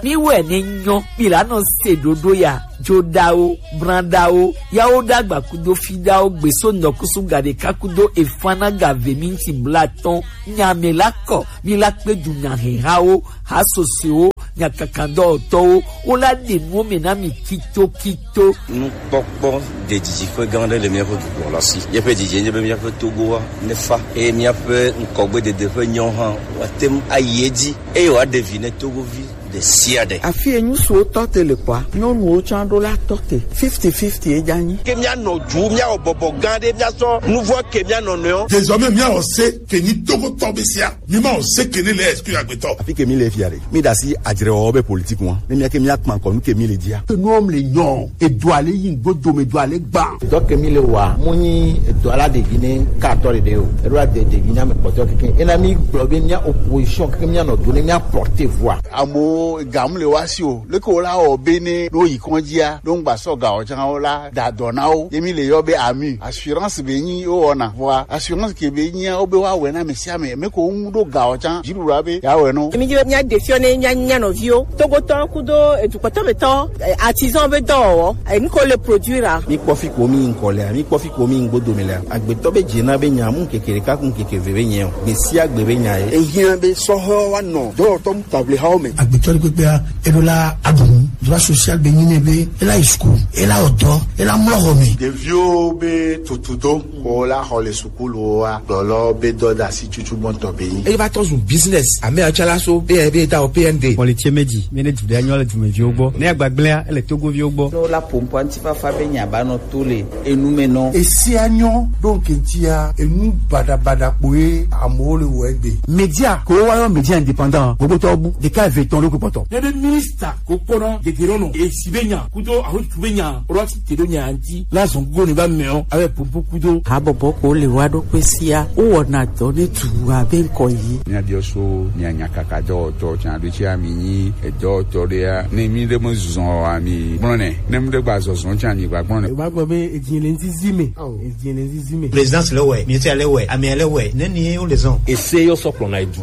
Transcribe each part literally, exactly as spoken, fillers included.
Mi wɛ ne nyɔ, mi la nɔ se ɖoɖo ya, joɖawo, branɖawo, yawo ɖagba kudo fiɖawo, gbeso nɔkusu gaɖeka kudo efana gave minti blatɔn, nyame la kɔ, mi la kpe du nyahehawo, hasosewo, nyakakadɔwɔtɔwo, wo la ɖe nuwo me na mi kitokito. Nukpɔkpɔ ɖe didi ƒe gã aɖe le míaƒe dukɔ la si. Míaƒe didi nye be míaƒe Togoa ne fa, eye míaƒe ŋkɔgbedede ƒe nyawo hã woate ŋu ayi edzi, eye wòaɖe vi ne Togovi ɖe sia ɖe. Afi yi ŋutsuwo tɔ te le kɔa, nyɔnuwo tsã ɖo la tɔ te. Fifty fifty ye dza nyi. Ke míanɔ du, míawɔ bɔbɔ gã ɖe, míasɔ nuvɔ ke mía nɔnɔewo. Désormais, míawɔ se ke nyi Togotɔ be sia. Mi ma o se ke ne le exclu agbetɔ. Afi ke mi le fia ɖe, mi ɖe asi adzrewɔwɔ be politique ŋua. Ne mía ke mía kpa ŋkɔ nu ke mi le dzia. Ke nuwo le nyɔ, edo ale yi ŋgbo dome do ale gba. Dɔ ke mi le wa, mo nyi edo ala ɖevi ne ka tɔ ɖeɖe o. Eɖo ade ɖevi na me kpɔtɔ keke. Ena mi gblɔ be mía opposition keke mía nɔ do ne mía porter voix. Amewo gam le wa si o. Leke wo la wɔ be ne ɖo yi kɔndzia, ɖo ŋgba sɔ ga o tsã wo la da dɔ na wo. Ye mi le yɔ be ami. Assurance be nyi wo wɔna. Vɔa assurance ke be nyia wo be wa wɛ na ame sia ame. Me ko ŋu ɖo ga o tsã. Dziɖuɖua be ya wɛ no. Mi dzi be mía ɖe fiɔ ne mía nya nɔviwo. Togotɔ kudo edukpɔtɔ be tɔ, eh, artisan be dɔwɔwɔ. Eh, nu ko le produire a. Mi kpɔ fi ko mi ŋkɔ lea, mi kpɔ fi ko mi ŋgbo dome lea. Agbetɔ be dze na be nya mu keke ɖeka kun keke ve be nyɛ o. Gbe sia gbe be nya ye. Ehiã be sɔhɔ wa nɔ dɔwɔtɔ mu table hawo me. Agbetɔ ɖe kpekpea, eɖo la aɖu nu. Droit social be nyi ne be, ela yi school, ela wɔ dɔ, ela mlɔ xɔ me. Ɖeviwo be tutudo, ko la xɔ le sukulu wa, dɔlɔ be dɔ da si tutu gbɔntɔ be yi. Eye va tɔ zu business, ame atsala so, be, be ta o P N D. Mɔ le tse me dzi, mi ne dzi ɖe anyɔ le dumeviwo gbɔ. Ne agbagblẽa, ele Togoviwo gbɔ. No la pompo antifafa be nya ba nɔ to le enu me nɔ. Esia nyɔ ɖo ŋkɛntsia enu baɖabaɖa kpoe amewo le wɔ egbe. Media ko wa yɔ media indépendant gbogbo tɔ bu ɖeka eve tɔn ɖo kpɔtɔ. Ne be minista ko kpɔnɔ gegero nɔ esi be nya kudo ahotu be nya rɔ si te ɖo nya ŋti la zɔn go ne ba mɛ o abe popo kudo. Habɔbɔ ko le wa ɖo kpe sia wo wɔna dɔ ne tu abe ŋkɔ yi. Mia biɔ so mia nya kaka dɔwɔtɔ tsa ɖo tsi ami nyi edɔwɔtɔ ɖea ne mi ɖe me zɔn ami gblɔ nɛ ne mi ɖe gba zɔzɔn tsa mi gba gblɔ nɛ. Ba gbɔ be edzi le ŋzizi me. Edzi le ŋzizi me. Présidence le wɛ, ministère le wɛ, amia le wɛ, ne ni wo le zɔn. Ese yɔ sɔ kplɔna edu.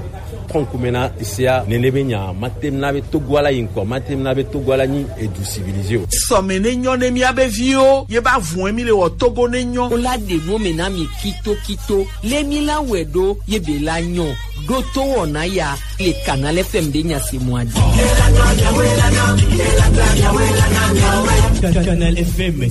Kɔnkume na esea nene be nya matem na be Togo ala yi ŋkɔ, matem na be Togo ala nyi edu civilisé o. Sɔme ne nyɔ ne mia be viwo, ye ba vun mi le wɔ Togo ne nyɔ. Wo la ɖe nu me na mi kito kito. Le mi la wɛ ɖo ye be la nyɔ. Ɖo to wɔna ya le Canal F M be nya se mɔ adi. Canal F M.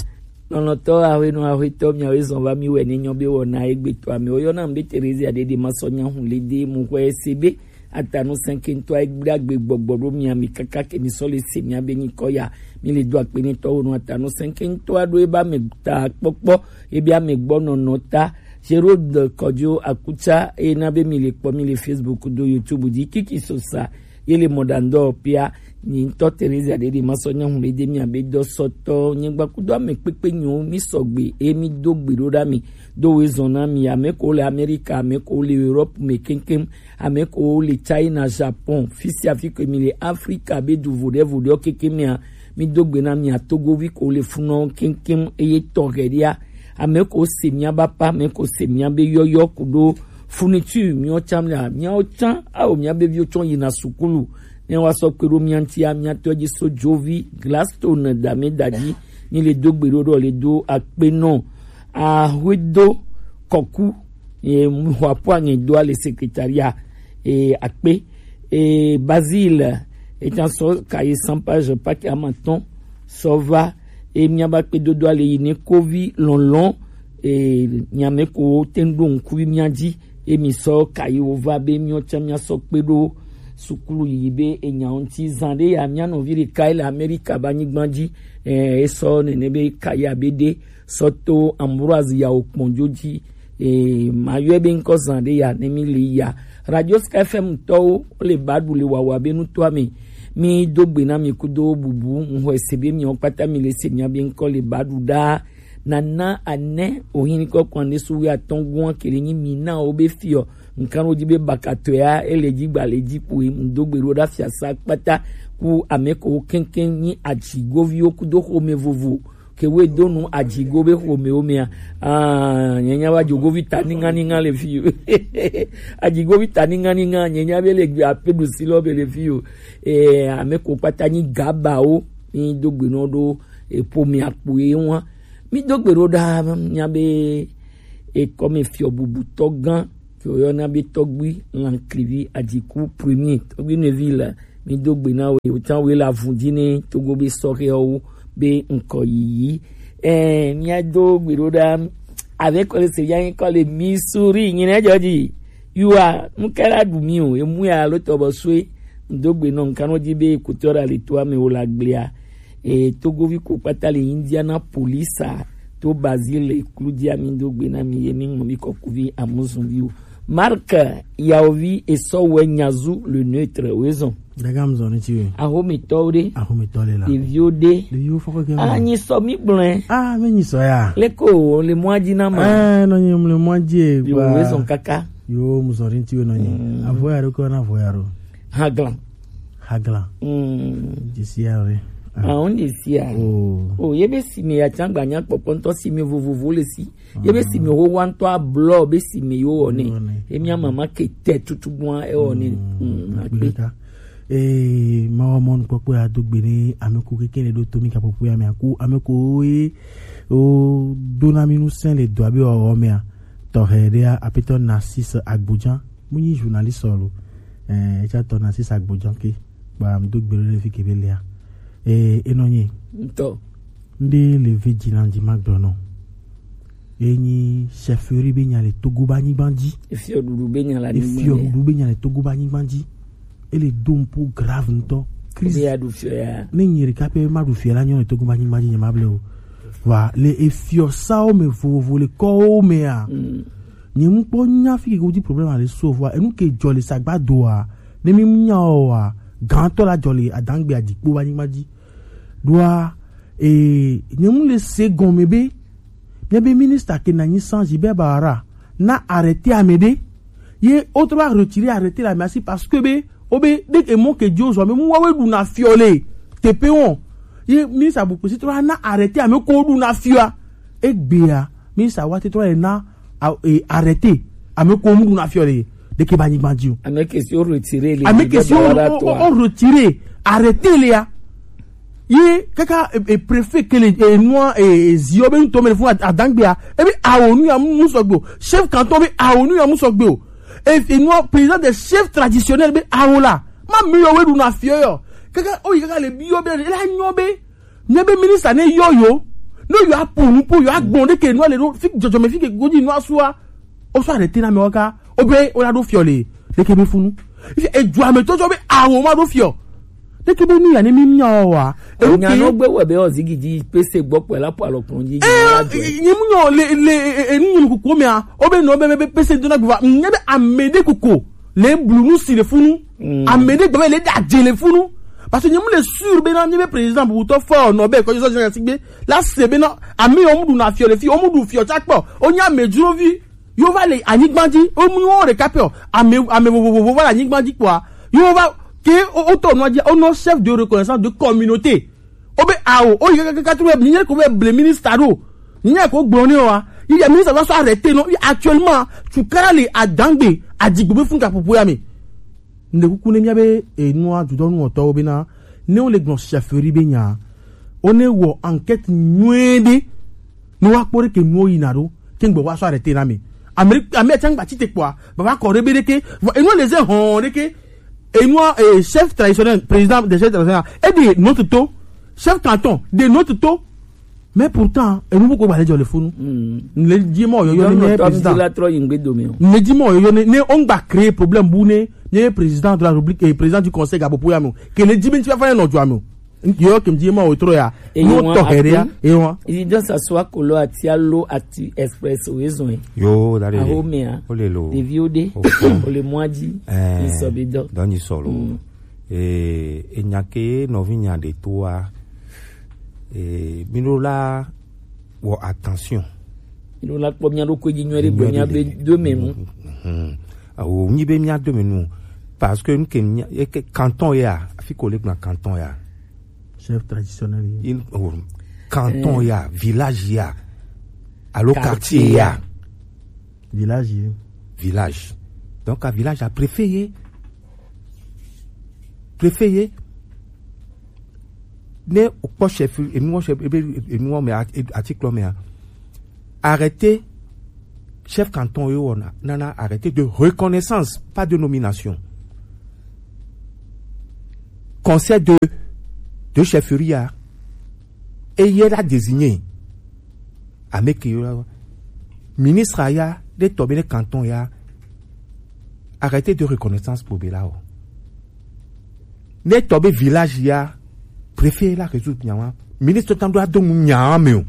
Lɔlɔ̃tɔ ahwenɔ ahwetɔ miawoe zɔn va mi wɛ ne nyɔ be wɔna egbetɔ amewo yɔna be Terezia ɖeɖe ma sɔ nya hu le de mu hwɛ se be atanu sɛnkentɔ egbe agbe gbɔgbɔ ɖo mia mi kaka ke mi sɔ le se mia be nyikɔ ya mi le do akpe ne tɔwo nu atanu sɛnkentɔ aɖo eba me ta kpɔkpɔ ebe ame gbɔ nɔnɔ ta Gerode Kɔdzo Akutsa eye na be mi le kpɔ mi le Facebook do YouTube dzi kiki sosa ye le mɔɖaŋudɔwɔƒea. Nyi ŋutɔ Terezia ɖeɖe masɔ nyɔnu ɖe de mia be dɔsɔtɔ nyigba kudo ame kpekpe nyiwo mi sɔgbe eye mi do gbe ɖo ɖa mi do woezɔn na mi ame ko le Amerika ame ko le Europe me keŋkeŋ ame ko le China Japon fisia fi ko mi le Afrika be du voɖe voɖewo kekeŋ mea mi do gbe na mia Togovi ko le funɔ keŋkeŋ eye tɔ hɛɖia ame ko se mia bapa ame ko se mia be yɔyɔ kudo Fourniture miwo tsã mla miawo tsã awo mia be viwo tsɔ yina sukulu ne wa sɔ kpe ɖo mia ŋutia mia tɔ dzi so dzovi Gladstone dame dadzi mi le do gbe ɖo ɖo le do akpe nɔ ahoedo kɔku ye muhɔapo aŋe do ale secrétariat e akpe e Basile etsã sɔ kayi cent page paquet amatɔn sɔ va e mia ba kpe dodo ale yi ne kovi lɔlɔn e nyame ko wo te ŋu ɖo ŋku mia dzi e mi sɔ kayi wo va be miwo tsã mia sɔ kpe ɖo sukulu yiyi be enyawo ŋuti zan ɖe ya mia nɔvi ɖeka ele Amerika be anyigba dzi e esɔ nene be kayi abe ɖe sɔ to Ambroise yawo kpɔnjo dzi e mayɔe be ŋkɔ zan ɖe ya ne mi le ya Radio Sky F M tɔwo le ba ɖu le wawa be nutɔa me mi do gbe na mi kudo bubu ŋxɔe se be miawo kpata mi le se mia be ŋkɔ le ba ɖu ɖaa Nana Ane ohin kɔkɔ ane su wi atɔn gua kele nyi mi na wo be fiɔ nkan wo dzi be bakatɔea ele dzi gba le dzi kpoe ŋdo gbe ɖo ɖa fiasa kpata ku ame ko keŋkeŋ nyi atsigoviwo kudo xome vovo ke we do nu ajigo be xo me o mea. Ah, nyenya wa jogo vi ta ninga ninga le fi o. Ajigo vi ta ninga ninga, nyenya be le gbe ape du si lo be le fi o. Eh, ame ko kpata nyi gaba o, mi do gbe no do, e po mi akpo e wa. Mi do gbe ro da, nya be, e ko mi fi o bubu to gan, fi o yo na be to gbi, lan klivi ajiku premier, to gbi ne vi la. Mi do gbe na we, o tan we la vun di ne, to go be so ke o, be nko yi. Eh, mi a do gbe ro da, avec le Seigneur, encore le Missouri, ni ne jodi. You are, mu kala du mi o, e mu ya lo to bo swe, do gbe no, nkan no di be, kutora le to ame o la gblea. E, Togovi ko kpata le Indianapolis a, to Brazil le klu di ami do gbe na mi ye mi mo mi ko kuvi amuzun vi o. Marc, yaovi e so we nyazu le neutre, wezon. Daga mzon ni ti we. Aho mi to de. Aho mi to le la. De vi o de. De yo foko ke. Ah, nyi so mi blen. Ah, me nyi so ya. Le ko, le mwa di na ma. Ah, no nyi le mwa di e. Yo, wezon kaka. Yo, mzon ni ti we no nyi. Mm. Avo ya ro ko na avo ya ro. Haglan. Haglan. Mm. Desi ya we. Ah, on desi ya. Oh. Oh, ye be si me ya tangba nya kpokpo nto si me vovovo le si. Ye be si me ho wa nto a blo be si me yo one. Yo one. E mi a mama ke te tutu gwa e one. Mm, mm, akpe. Akpe ka. Eh, ma wa mon kpokpo ya do gbe ni ame ko keke ne do to mi ka popo ya me aku ame ko e o do na mi nu sen le do abi o me a. To he de a apito Narcisse Agbodjan. Mu nyi journaliste lo. Eh, e ca to Narcisse Agbodjan ke. Ba mi do gbe le fi ke be le a. Eh, e no nyi. Nto. Nde le ve dzi na dzi ma gblɔ nɔ. Enyi chefferie be nya le Togo ba nyigba dzi. Efiɔ ɖuɖu be nya le anyigba dzi. Efiɔ ɖuɖu be nya le Togo ba nyigba dzi. Ele do un po grave ŋutɔ. Crise. Be ya ɖu fiɔ ya. Ne nyi ɖeka pɛ ma ɖu fiɔ la nyɔ le Togo ba nyigba dzi nye ma ble o. Va le efiɔ sawo me vovovo le kɔwo me a. Mm. Nye mu kpɔ nya fi ke wodi problème ale so vwa enu ke dzɔ le sagba doa. Ne mi nya o wa. Gantɔ la dzɔ le adangbe adikpo ba nyigba dzi. Ɖoa, eh, nye mu le se gɔme be, míabe ministre ke na nyi sans Gilbert Bahara na arrêté ame ɖe. Ye wotrɔ va retirer arrêté le amea si parce que be, wobe, ɖe emɔ ke dzi wozɔ, ame mu woawoe ɖuna fiɔ le teƒe wɔn. Ye ministre Abu Kpesi trɔ va na arrêté ame ko woɖuna fiɔa. Egbea, ministre wa te trɔ va na a-, e, arrêté ame ko mu ɖuna fiɔ le ɖeke ba nyigba dzi o. Ame ke si wo retire le. Ame ke si wo, wo, wo retire arrêté le ya. Ye kaka e, e, préfet ke le e, nua e, e, ziɔ be ŋutɔ me le fún ad-, adangbea. Ebe awo nu ya mu sɔgbe o. Chef canton be awo nu ya mu sɔgbe o. E, e nua président des chefs traditionnels be awo la. Ma mi yɔ we ɖuna fiɔ yɔ. Kaka oyi kaka le bi yɔ be la nyɔ be. Nye be ministre ne yɔ yo, ne yo apo nu po yo agbɔn ɖe ke nua le ɖo fi dzɔdzɔme fi ke godzi nua sua. O sɔ arrêté na me waka. O be o la ɖo fiɔ le. Ɖe ke be funu. Fi e dua me tɔjɔ be awo ma ɖo fiɔ. Ɖe ke be nu ya ne mi mia wa. E nya no gbe wɔ be o zigi dzi pese gbɔ kpɔ la po alɔ kplɔn dzi. Eh, nye mu nyɔ le, le, e, e, nu nyɔ kuku me a. O be no be, be, be pese do na gba. Nye be ame ɖe kuku. Le blu nu si le funu. Mm. Ame ɖe gbe le da dze le funu. Parce que nye mu le sûr be na nye be président bu to fɔ no be ko so je sigbe. La se be na ame o mu ɖuna fiɔ le fi, o mu ɖu fiɔ tsa kpɔ. O nya me dzro vi. Yo va le anyigba dzi, o mu wo ɖeka pɛ o. Ame, ame vovovo va le anyigba dzi kpɔa. Yo va ke o, o tɔ nua dzi, o nɔ chef de reconnaissance de communauté. O be awo, o yi kaka tu be, ni nye ko be ble ministre ɖo. Ni nye ko gblɔ ne wa. Yi ya ministre va sɔ arrêté non, yi actuellement, tu kara le adangbe, adigbo be fun ka popo ya me. Ne kuku ne mia be, e, nua, du dɔnu ɔtɔ o be na, ne o le gblɔ chefferie be nya. O ne wɔ enquête nyuie ɖe. Ne wa kpɔ ɖe ke nuwo yina ɖo, ke ŋgbe wa sɔ arrêté na me. Amérique, Amérique tiangba ti te kpɔa, baba kɔ ɖe be ɖe ke, vɔ, enua le ze hɔn ɖe ke, enua, eh, chef traditionnel, président des chefs traditionnels, e de note to, chef canton, de note to, mais pourtant, enu bu ko ba le jɔ le funu. Mm. Le di ma yɔyɔ ni nye président. La trɔ yi ŋgbe do me o. Le di ma yɔyɔ ne, ne on gba créer problème bu ne, ne président de la République et président du conseil gabo poya me o. Ke le di be nti fa ne nɔ jɔ me o. Yo, kim di ma o tro ya. E no yo to here ya. E wa. Idan sa swa kolo ati alo ati express o ezon. Yo, dale. Aho me a. O le lo. Devi o de. O le mwa di. Eh. Iso be do. Dɔn ni solo. Mm. Eh, e nya ke no vi nya de to a. Eh, mi lo la wo attention. Mi lo la kpɔ mia do ko di nyuie de gbe mia be do me nu. Mhm. Awo, nyi be mia do me nu. Parce que nke mia, e ke canton ya, afi ko le gblɔ canton ya. Chef traditionnel ye. Il, oh, Canton ya, village ya, alo quartier ya. Village ye. Village. Donc a village a préfet ye. Préfet ye. Ne o kpɔ chef, enu wɔ chef, ebe enu wɔ me a- e- article me a. Arrêté chef canton ye wɔna nana arrêté de reconnaissance, pas de nomination. Conseil de de chefferie ya, eye la désigné. Ameke yo la, ministre ya, de tɔ be ne canton ya, arrêté de reconnaissance pour be la o. Ne tɔ be village ya, préfet la résoudre nya wa. Ministre tan do ado mu nya me o.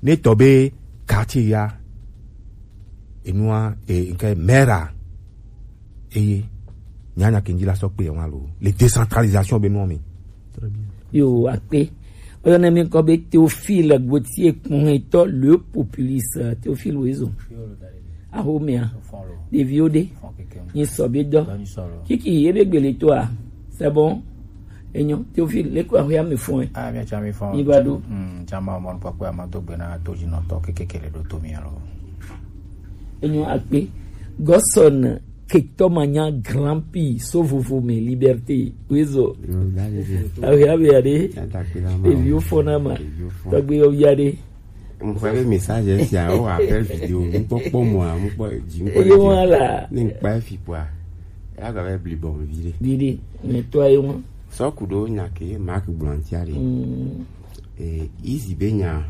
Ne tɔ be quartier ya, enua e nke maire a, eye nyanya kenji la sɔ kpe wa lo. Le décentralisation be no mi. Très bien. Yo akpe. Oyɔ ne mi kɔ be Théophile Gauthier kpɔn etɔ le populiste Théophile Wezo. Ahomea. Ɖeviwo ɖe. Nyi sɔ be dɔ. Kiki ebe gbele to a. C'est bon. Enyo Théophile le ko ahwe ame fɔn. Ah, mi cha mi fɔn. Ni ba do. Hmm, cha ma mo pa ko ma do gbe na to ji no to kekekele do to mi alo. Enyo akpe. Gosson ketɔ manya grand pi so vovo me liberté. Wezo. Awe awe ade. Eviwo fɔna ma. Tɔgbe yo yade. Mfere message sia o appel vidéo. Mkpɔ kpɔ mo a mkpɔ ji mkpɔ. Eyo wala. Ni mkpa fi kwa. Ya ga be bli bon vide. Vide. Mais toi et moi. So kudo nya ke Marc Blantiari. Mm. Eh, izi be nya,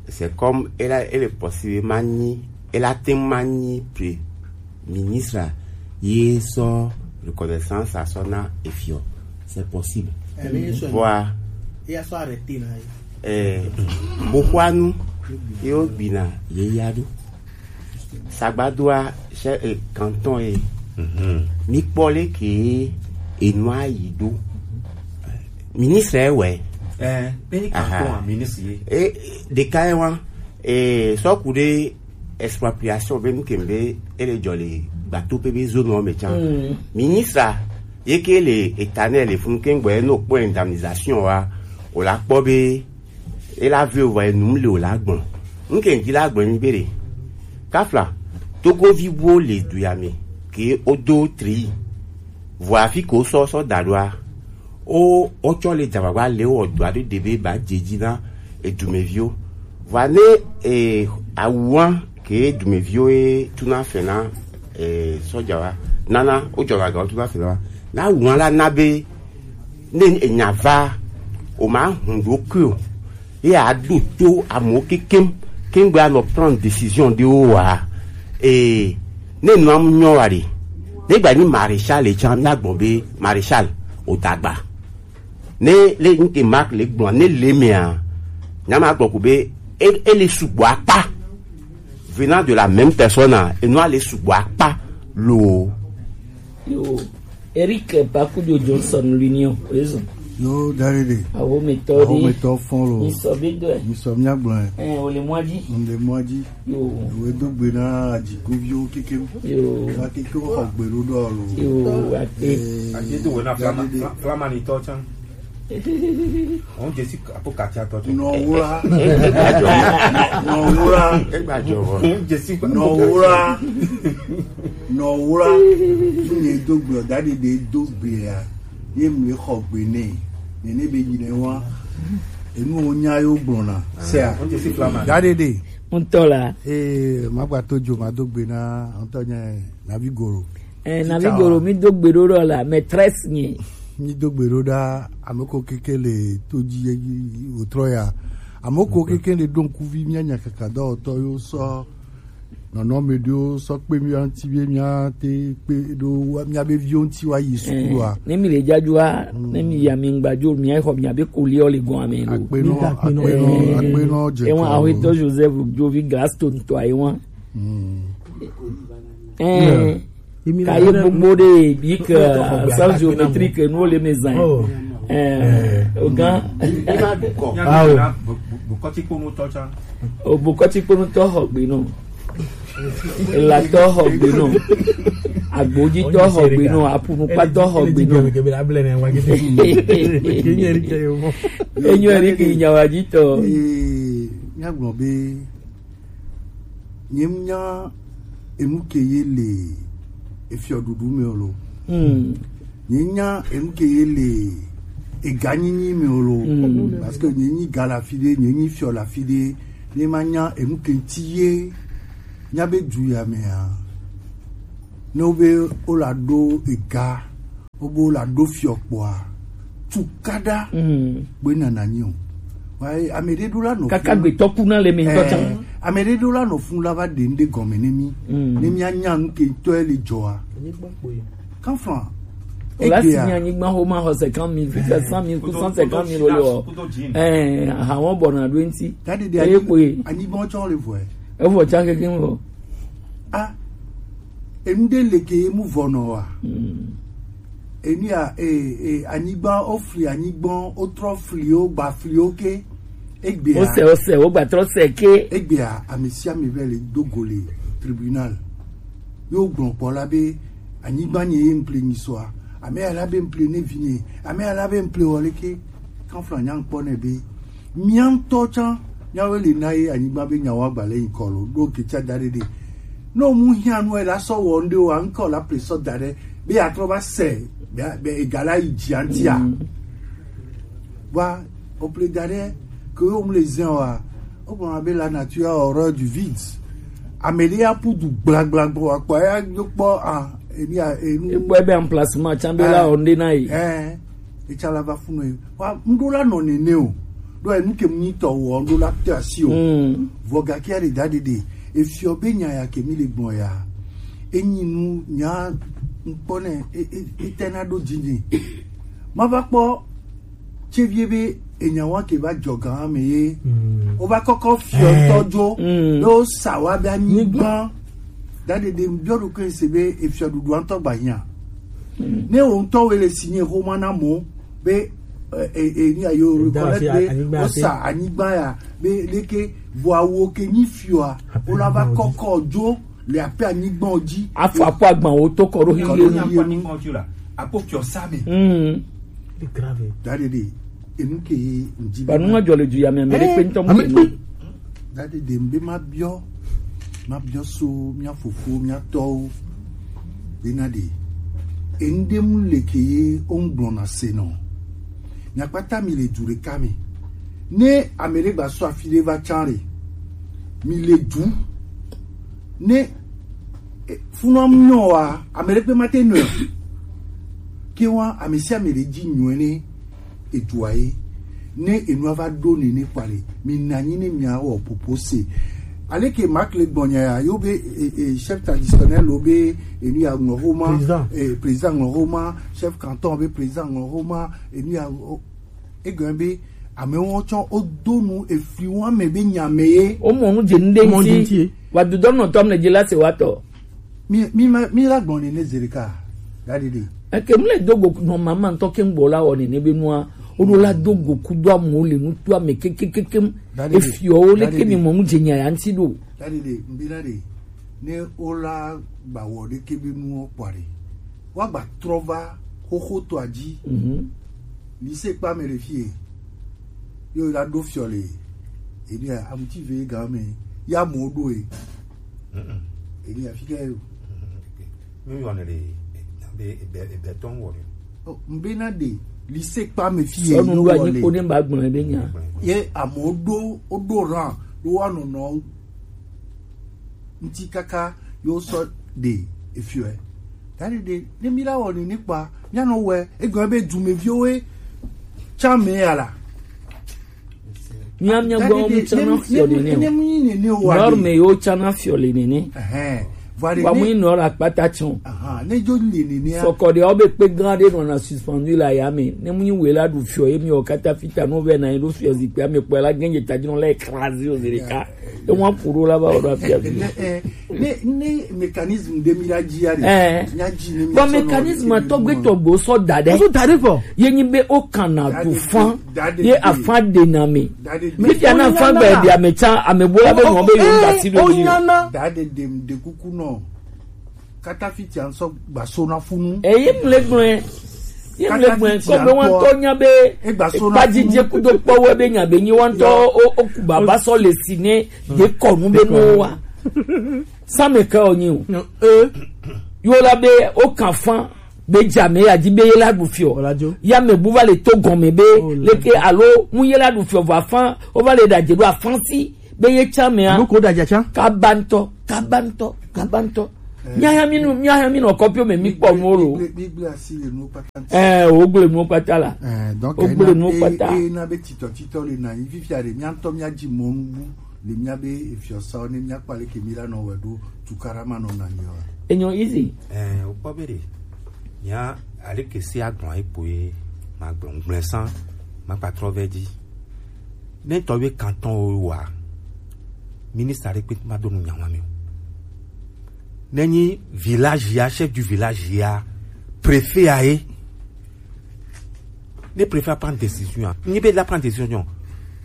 c'est comme elle a, elle est possible mani, elle a tellement mani pre ministre ye so reconnaissance à son efio. C'est possible. Voilà. Il y a soit arrêté là. Eh, bokwanu yo gbina ye yadu. Sagbadoa chez eh, canton e. Mi kpɔ le ke enua yi do. Ministre e wɛ. Eh, pe ni canton a ministre ye. E de ka e wa. E so ku de expropriation be nu ke be ele jɔ le gbato pe be zone o me chan. Ministre ye ke le éternel le fun ke ngbe no po indemnisation wa. O la kpɔ be e la ve o va enum le o la gbɔn. Nke ŋdi la gbɔn nyi be ɖe. Kafla, togovi wo le du ya me ke o do tri. Vɔ afi ko sɔ sɔ da ɖoa. O o tsɔ le dzavagba le o dua ɖe ɖe be ba dze dzi na edumeviwo. Vɔ ne e awua ke dumeviwo e tuna fena e sɔdza wa nana o dzɔ ga ga o tuna fena wa na awua la na be ne enya va o ma hun ɖokui o ye a ɖo to amewo kekem kengbe anɔ prendre décision ɖewo wa ee ne nua mu nyɔ wa ɖe ne gba nyi maréchal etsã mía gbɔ be maréchal o dagba ne le nke mark le gbɔ ne le mea nyama gbɔ ko be e e le sugbɔ akpa venant de la même personne enua le sugbɔ akpa loo. Yo, Eric Bakudio Johnson l'Union, raison. Yo, Darede. Awo me to di. Awo me to fon lo. Ni so be do. Ni so mi agblɔ. Eh, o le mwa di. O le mwa di. Yo. Ewe do gbe na ajikuviwo kekem. Yo. Wa kekem xɔ gbe ɖo ɖɔ lo. Yo, wa te. Eh, ati do wena Darede. Flamani to chan. Òun jẹ sí àpò kàtí àtọ́jú. Nọ̀wúrà. Nọ̀wúrà. Ẹgbàjọwọ. Òun jẹ sí. Nọ̀wúrà. Nọ̀wúrà. Fún yẹn dógbè ọ̀dà dìde dógbè à. Yé mi lè xɔ gbé ní. Nìní bẹ yìí lẹ wá. Èmi ò nyá yóò gbọ̀n nà. Sẹ́à. Òun jẹ sí flamand. Dádédé. Ń tọ́ la. Ee, màá gbà tó jo màá dógbè náà. Ń tọ́ yẹn nàbí gòrò. Eh, na mi goro mi do gbe ɖo ɖo la maîtresse nye. Mi do gbe ɖo ɖa ameko keke le to dzi ye yi wotrɔ ya. Ameko keke le ɖo ŋkuvi mia nya kaka dɔwɔtɔ yo sɔ nɔnɔme ɖo sɔ kpe mia ŋuti be mia te kpe ɖo mia be viwo ŋuti wa yi sukulu a. Ne mi le dzadzua, ne mi ya mi ŋgbadzo mia xɔ mia be koliɔ le gɔn ame ɖo. Akpenɔ, akpenɔ, akpenɔ dze. Ewa ahwetɔ Joseph Jovi Glaston tɔ ayi wa. Eh. Ka ye gbogbo ɖe bi ke science géométrique nuwo le me zan. Eh, o gan. Awo. Bukɔti kponu tɔ tsa. O bukɔti kponu tɔ xɔ gbe nɔ. Elatɔ xɔ gbe nɔ. Agbojitɔ xɔ gbe nɔ. Apunukpatɔ xɔ gbe nɔ. Enyo eri ke nyawajitɔ. Ee, míagblɔ be, nyemnya enu ke ye le efiɔɖuɖu me o lo. Hmm. Nyemnya enu ke ye le eganyinyi me o lo. Hmm. Parce que nyenyi ga le afi ɖe, nyenyi fiɔ le afi ɖe, ne manya enu ke ŋuti ye nya be du ya mea, ne wobe wola ɖo ega, wobe wola ɖo fiɔ kpɔa, tukaɖa Mm. gbe nana nyi o. Wa, ame ɖe ɖo la nɔ Kaka fun. Gbetɔ kuna le mi ŋutɔ Eh, can. Ame ɖe ɖo la nɔ fun la va ɖe ŋɖe gɔme ne mi. Mm. Ne mi anya nu ke ŋutɔ le dzɔa. Kanfan. O la si Egbea. Ni anyigba xo ma xɔ cinquante mille, fifia cent mille ku cent cinquante mille wo le o. Eh, aha wɔn bɔ na ɖo ŋuti. Tadi de Eye anyi-, kpoe. Anyigba tsɔ le vɔe. Evɔ can keke ŋu. Ah, enu ɖe le ke mu vɔ nɔ wa. Mm. Enu ya, eh, eh, anyigba, wofli anyigba, wotrɔ fli wo, gba fli wo ke. Egbea. Wose, wose, wogba trɔ se ke. Egbea, ame sia ame vɛ le do go le tribunal. Yo gblɔ kpɔ la be, anyigba nye ye ŋple nyi sɔa. Ame ya la be ŋple ne vi nye. Ame ya la be ŋple wɔ leke. Kanfla nya ŋkpɔ ne be. Mía ŋutɔ tsã, míawoe le na ye anyigba be nyawo agba le ŋkɔ lo, ɖo ke tsa da ɖe ɖe. Ne wo mu hiã nu ela sɔ wɔ ŋɖe wa, ŋkɔ la ple sɔ da ɖe, be atrɔ va se, be, be ega la yi dzi antia. Mm. Wa, o ple da ɖe, ke wo mu le zin wa, o gblɔ be la nature a horreur du vide. Ame ɖe ya pu du gblagbla gbɔ, akpɔ ya do kpɔ, ah, eni a, enu. Ekpɔ ebe emplacement tsã be la Eh. Wɔ ŋɖe na ye. Eh, etsa la va fu nɔ ye. Wa, ŋɖo la nɔ nene o. Ɖo enu ke mu nyi tɔ wɔ, ŋɖo la te asi o. Mm. Vɔ gake ya ɖe da ɖe ɖe. Efiɔ be nya ya ke mi le gbɔn ya. Enyi nu nya ŋkpɔ ne, e, e, e te na ɖo dzi nyi. Ma va kpɔ tse vie be enya wa ke va dzɔ gan me ye. Mm. O va kɔkɔ fiɔ Eh. Tɔ dzo. Mm. Be o sa wa be anyigba. Da ɖe ɖe biɔ ɖo ke se be efiɔ ɖuɖu ŋutɔ gba hiã. Mm. Ne wo ŋutɔ wo le si nye xoma na mo be, e, e, e, ni ayo Eda reconnaître asi be anyigba o ate. Sa anyigba ya be leke vɔ awo ke nyi fiɔa, o la va kɔkɔ dzo le ape anyigba dzi. Afɔ akpɔ agban wo to kɔ ɖo Kɔ ɖo hiye. Hiye. Akpɔ anyigba dzi la, akpɔ fiɔ sa me. Mm. C'est grave. Da ɖe ɖe, enu ke ye ŋdi Ba nu ma dzɔ le du ya me, ame ɖe kpe ŋutɔ mu Ame ɖe kpe. Da ɖe ɖe, mbe ma biɔ, ma biɔ so mía fofo, mía tɔwo. Bena ɖe, eŋɖe mu le ke ye wo ŋgblɔ na se nɔ. Mia kpata mi le du ɖeka me. Ne ame ɖe gba sɔ afi ɖe va tsã ɖe, mi le du. Ne, e, funua mu nyɔ wa, ame ɖe kpe ma te nɔ. Ke wa, ame sia ame ɖe dzi nyɔe ne edua ye. Ne enua va ɖo nene kpa le, mi na anyi ne mia wɔ popo se. Aleke Marc le gbɔnya ya, yo be, e, e, chef traditionnel lo be, enu ya ŋlɔ homa, Président. E, président ŋlɔ homa, chef canton be président ŋlɔ homa, enu ya, o, egɔme be, amewo tsɔ, o do nu efli wo ame be nya me ye. O mɔ nu dze nu ɖe Mɔ ŋuti. Ŋuti ye. Wa dudɔ nɔ tɔm le dze la se wa tɔ. Mi, mi ma, mi la gbɔn nene zi ɖeka. Da ɖe ɖe. Eke mle do go nɔ mama ŋutɔ ke ŋgbɔ la wɔ nene be nua. O ɖo la do go kudo amewo le nuto ame kekekekem. Da ɖe ɖe. Efiɔ wo Da ɖe leke mi ɖe. Mɔ nu dze nya ya ŋuti ɖo. Da ɖe ɖe, mbi na ɖe. Ne o la gba wɔ ɖeke be nuwo kpɔ ɖe. Wa gba trɔ va xoxo to adzi. Mhm. Lycée kpa me le fie. Yo la ɖo fiɔ le. Ebi a, amuti ve ga me. Ya mo ɖo e. Mm-mm. Ebi a fi ke yo. Mi yɔ ne ɖe, be, be, be tɔn wɔ ɖe. O, mbe na ɖe, lycée kpa me fi ye. Sɔnu yo ɖo wɔ anyi le. Ko ne ba gbɔn be nya. Ye amo ɖo, o ɖo ran, ɖo wa nɔnɔ ŋuti kaka yo sɔ ɖe efiɔe. Da ɖe ɖe, ne mi la wɔ nene kpa, mia nɔ wɛ, egɔme be dumeviwo ye tsã me ya la. Mia, mia gbɔ wo mu tsana fiɔ nene o. Ne mu nyi nene o wa Nord ɖe. Me yo tsana fiɔ le nene. Ɛhɛn. Vɔ ɖe Wa mu ne nyi Nord akpata tsɔ. Ahan, ne dzo le nene a. Sɔkɔ ɖe wo be kpe gã ɖe nɔna suspendu le aya me. Ne mu nyi wela ɖu fiɔ ye mi o kata fita no vɛ na ye ɖo fiɔ zikpui ame kpɔ la gɛnje ta dzi nɔ la écrasé o zereka. E wan kuro la ba o do afia vi. Ne, eh, ne, ne mécanisme de mira dzi ya de. Eh. Nya dzi ne. Bon, mécanisme tɔgbe tɔgbe sɔ da ɖe. Sɔ da ɖe fɔ. Ye nyi be o kana du fan. Ye afan de na mi. Mi fia na fan gbe de ame tsa, ame bo la be mo be yo da si do. O nyana. Da de dem de kuku no. Katafi tia ŋsɔ gbaso na funu. Eye mle gblɔe. Ye mle gblɔe. Kɔ be wantɔ nya be ekpadzidze kudo kpɔwɛ be nya be nyi wantɔ o, o ku baba sɔ le si ne de kɔnu be no wa. Same ke o nyi o. Yo la be o kan fan be dza me ya di be ye la du fiɔ. Ya me bu va le to gɔme be leke alo mu ye la du fiɔ va fan o va le da je do afan si. Be ye tsa mea. Nuko da dza tsa. Kabantɔ, kabantɔ, kabantɔ. Mia hã mi nu, mia hã mi nɔ kɔpiwo me mi kpɔ nuwo lo. Mi gble asi le nuwo kpata ŋuti. Eh, wo gble nuwo kpata la. Eh, donc, wo gble nuwo kpata. E na be titɔ titɔ le na yi fifia de mia ŋutɔ mia dzi mɔnu bu le mia be efiɔsawo ne mia kpɔ leke mi la nɔ wɛ ɖo tukaɖa ma nɔ na mi wa. Enyo easy. Eh, wo kpɔ be de. Mia aleke si agblɔ ayi kpoe ma gblɔ ŋgblɛ san ma kpa trɔ vɛ dzi. Ne tɔ be kantɔn wo wa, ministre ɖe kpe ma do nu nya wa mi o. Ne nyi village ya, chef du village ya, préfet ya ye. Ne préfet prend décision, ni be la prend décision.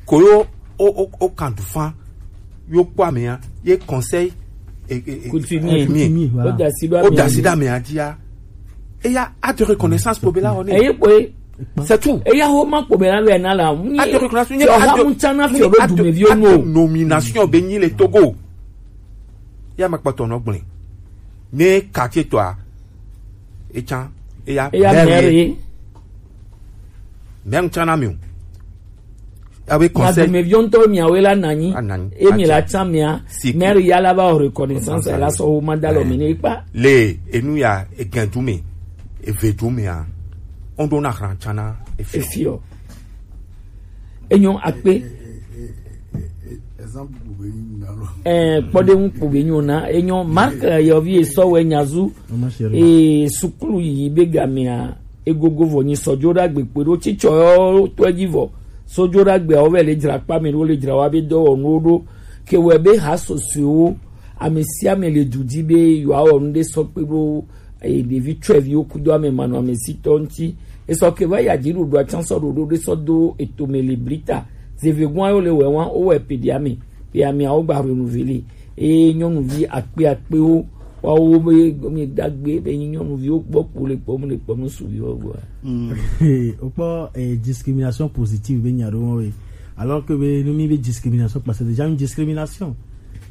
Koyo o o o kan du fan yo kpɔ ame ya ye conseil et, et, et coutumier. Coutumier, voilà. O dasi do ame ya. O dasi do ame ya dia. Et il y a acte de reconnaissance pour Bela One. Eye kpoe. C'est tout. Eya ho ma kpo be na be na la. Acte de reconnaissance. Acte de nomination be nyi le Togo. Ya ma kpɔtɔ nɔ gblẽ. Ne quartier tɔa, etsan, eya, eya maire. Maire. Maire tsan na mi o. Abe conseil. Madumeviwo ŋutɔ miawoe la nanyi. Ananyi. Emi la tsan mia. Maire ya la ba o reconnaissance la sɔ wo ma da lɔ mi ne kpa. Le enu ya egɛn du me, eve du me a. On do na hran tsan na efi. Efi o. Enyo akpe. Exemple kpo be nyi na lo. Eh, kpɔɖeŋu kpo be nyo na. Enyo Mark, eh, yɔvi esɔ wɛ nyazu. Eh, sukulu yi be gamea egogo vɔ nyi sɔjo ɖagbe kpe ɖo tsitsɔ tɔ dzi vɔ. Sɔjo ɖagbe awo vɛ le dzra kpa me ɖo le dzra wa be dɔwɔnuwo ɖo. Ke wɛ be ha sɔsɔewo ame sia ame le du dzi be yewoawɔ nu ɖe sɔ kpe ɖo eye ɖevi tsɔeviwo kudo ame manɔamesitɔ ŋuti. Esɔ ke va yi adziɖuɖua tsã sɔ ɖoɖo ɖe sɔ do etome le blita. Zevegɔn ayo le wɛ wan wowɔe peɖi ame. Pe ameawo gba renouveler. Eye nyɔnuvi akpe akpewo woawo be mi dagbe be nyi nyɔnuviwo gbɔ kpo le kpɔm le kpɔm suviwo gbɔ. Wokpɔ eh, discrimination positive be nya ɖo wɔn we. Alors que be nu mi be discrimination parce que déjà une discrimination.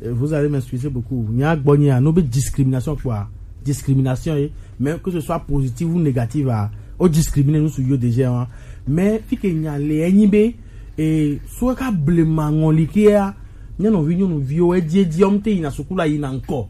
Euh, vous allez m'excuser beaucoup. Nya gbɔ nya no be discrimination quoi. Discrimination eh. Mais que ce soit positive ou négative ah, o discriminer nous sur déjà hein. Mais fi ke nya le enyi be eh so ka blema ngoli ke ah. Nyɔnuvi nyɔnuviwo edzi edzi ɔm te yina sukulu yina ŋkɔ.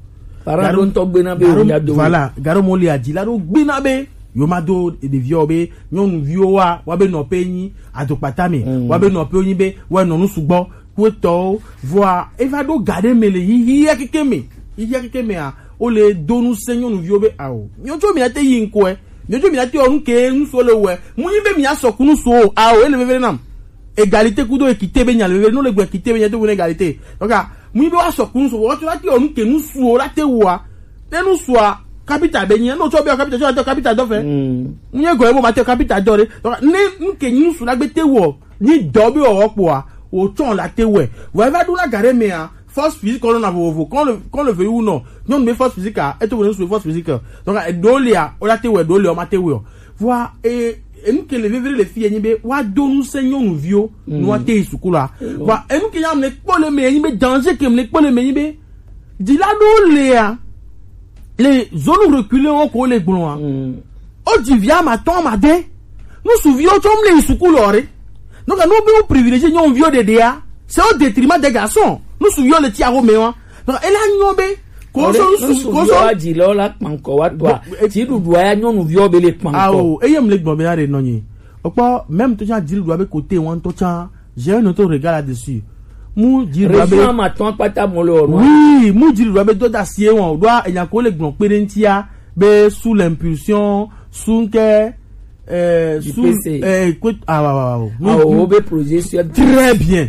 Parents ɖo ŋutɔ gbena be wònya do. Voilà, garo mo le adzi la ɖo gbena be yo ma do ɖeviwo be nyɔnuviwo wa wa be nɔƒe nyi adokpata me wa be nɔƒe nyi be wa nɔ nu sugbɔ kpɔtɔwo vɔa eva ɖo ga ɖe me le yiyi ya keke me yiyi ya keke me a wo le do nu se nyɔnuviwo be ao nyɔdzo mi ate yi ŋkɔe nyɔdzo mi ate ɔnu ke nuso le wɛ mu yi be mi asɔ ku nuso o ao ele veve nam. Égalité kudo équité be nya le veve no le gbe équité be nya to ne égalité. Donc ah, mu be wa sɔ kunu so wo to la ti onu ke nu suo la te wa. Ne nu suo capital be nya no to be capital to capital do fe. Mu ye go e mo ma te capital do re. Donc ne nu ke nu su la gbe te wo. Ni do be o po a. O ton la te we. Wa va du la gare me a. Force physique on a vovo qu'on le qu'on le veuille ou non. Non mais force physique a. Et to nous force physique. Donc e do le a, o la te we do le o ma te we. Vɔa e enu ke le vevie le fi ye nyi be wa do nu se nyɔnuviwo nu wa te yi sukulu a. Vɔa enu ke ya mle kpɔ le me ye nyi be danger ke mle kpɔ le me nyi be dzila ɖewo lea le zone reculée wo ko le gblɔa. O dzi via ma tɔn ma de nu suviwo tsɔ mle yi sukulu ɔ ɖe. Donc nous be privilégier nyɔnuviwo ɖeɖea c'est au détriment des garçons. Nu suviwo le ti awo me wa. Donc ela nyɔ be koso nu suvi koso wa dzi le la kpankɔ wa tɔa ti ɖuɖua ya nyɔnuviwo be le kpankɔ. Awo eye mle gbɔn be na ɖe nɔnyi. Okpɔ même to tsã dzi ɖuɖua be kote wɔn to tsã j'ai un autre regard là-dessus. Mu dzi ɖuɖua be région ma tɔn kpata mo le ɔrɔ. Oui mu dzi ɖuɖua be do da sie wɔn o ɖoa enya ko le gbɔn kpe ɖe ŋutia be sous l'impulsion sous ŋkɛ euh, sous euh, écoute ah wa wa wa. Awo be projet sur très bien.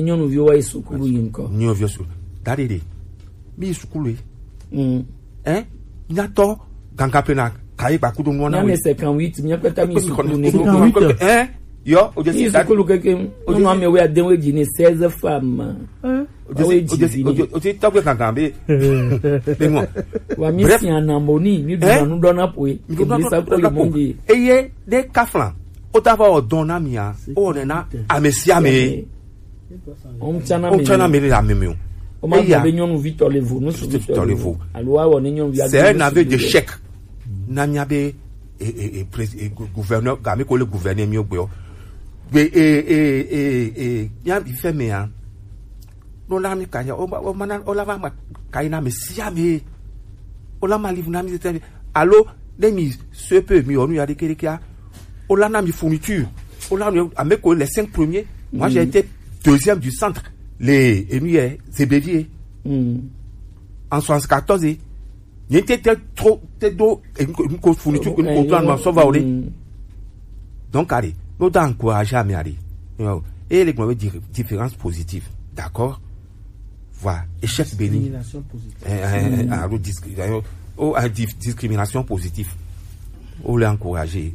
Ni nyɔnuviwo wa yi sukulu yi ŋkɔ. Nyɔnuviwo su. Dadi de. Mi yi sukulu yi. Mm. Hein? Nyatɔ gangan pe na kayi gbakudo nuwo na Nyame we. Cinquante-huit, mi kpɛtɛ mi sukulu ne. Cinquante-huit. Hein? Yo, o je Mi si dadi. Sukulu keke. O je Nyɔnu si ame we adenwe ji ne seize femmes. Hein? O je Awe si, o je si, jiji o je, ni. O je tɔgbe gangan be. Be mo. Wa mi Bref. Si anamoni, mi Hein? Duna nu dɔna poe. Mi duna Ebi sa nu ko le dɔna poe. Monde. Eye de kaflan. O ta va o dɔn na mi a. O ne na ame si ame. O mtsana O tsana mele. Mele la meme o. O ma Eya. Be nyɔnuvi tɔ le vo, nu suvi Tɔ le vo. Alo wa wɔ ne nyɔnuvi. C'est un aveu d'échec. Na mia be e e e prés- e gou- gouverneur ga mi ko le gouverneur mi o gbe o. Gbe e e e e mia bi fɛ me a. No la mi ka ya o ma o ma na o la va ma ka ina me si ame. O la ma livre na mi tete. Alo ne mi se pe mi o nu ya de kere kia. O la na mi fourniture. O la mi a me ko les cinq premiers. Moi j'ai été deuxième du centre. Les et nous c'est Bélier. Mm. En soixante-quatorze. Ni te te trop te do e ko fourniture ko ko plan ma so va o de. Mm. Donc, allez, nous devons encourager à aller. Et les différences positives. D'accord? Voilà, échec béni. Discrimination positive. Eh, eh, eh, alo discrimination, oh, eh, dis- discrimination positive. On les encourager.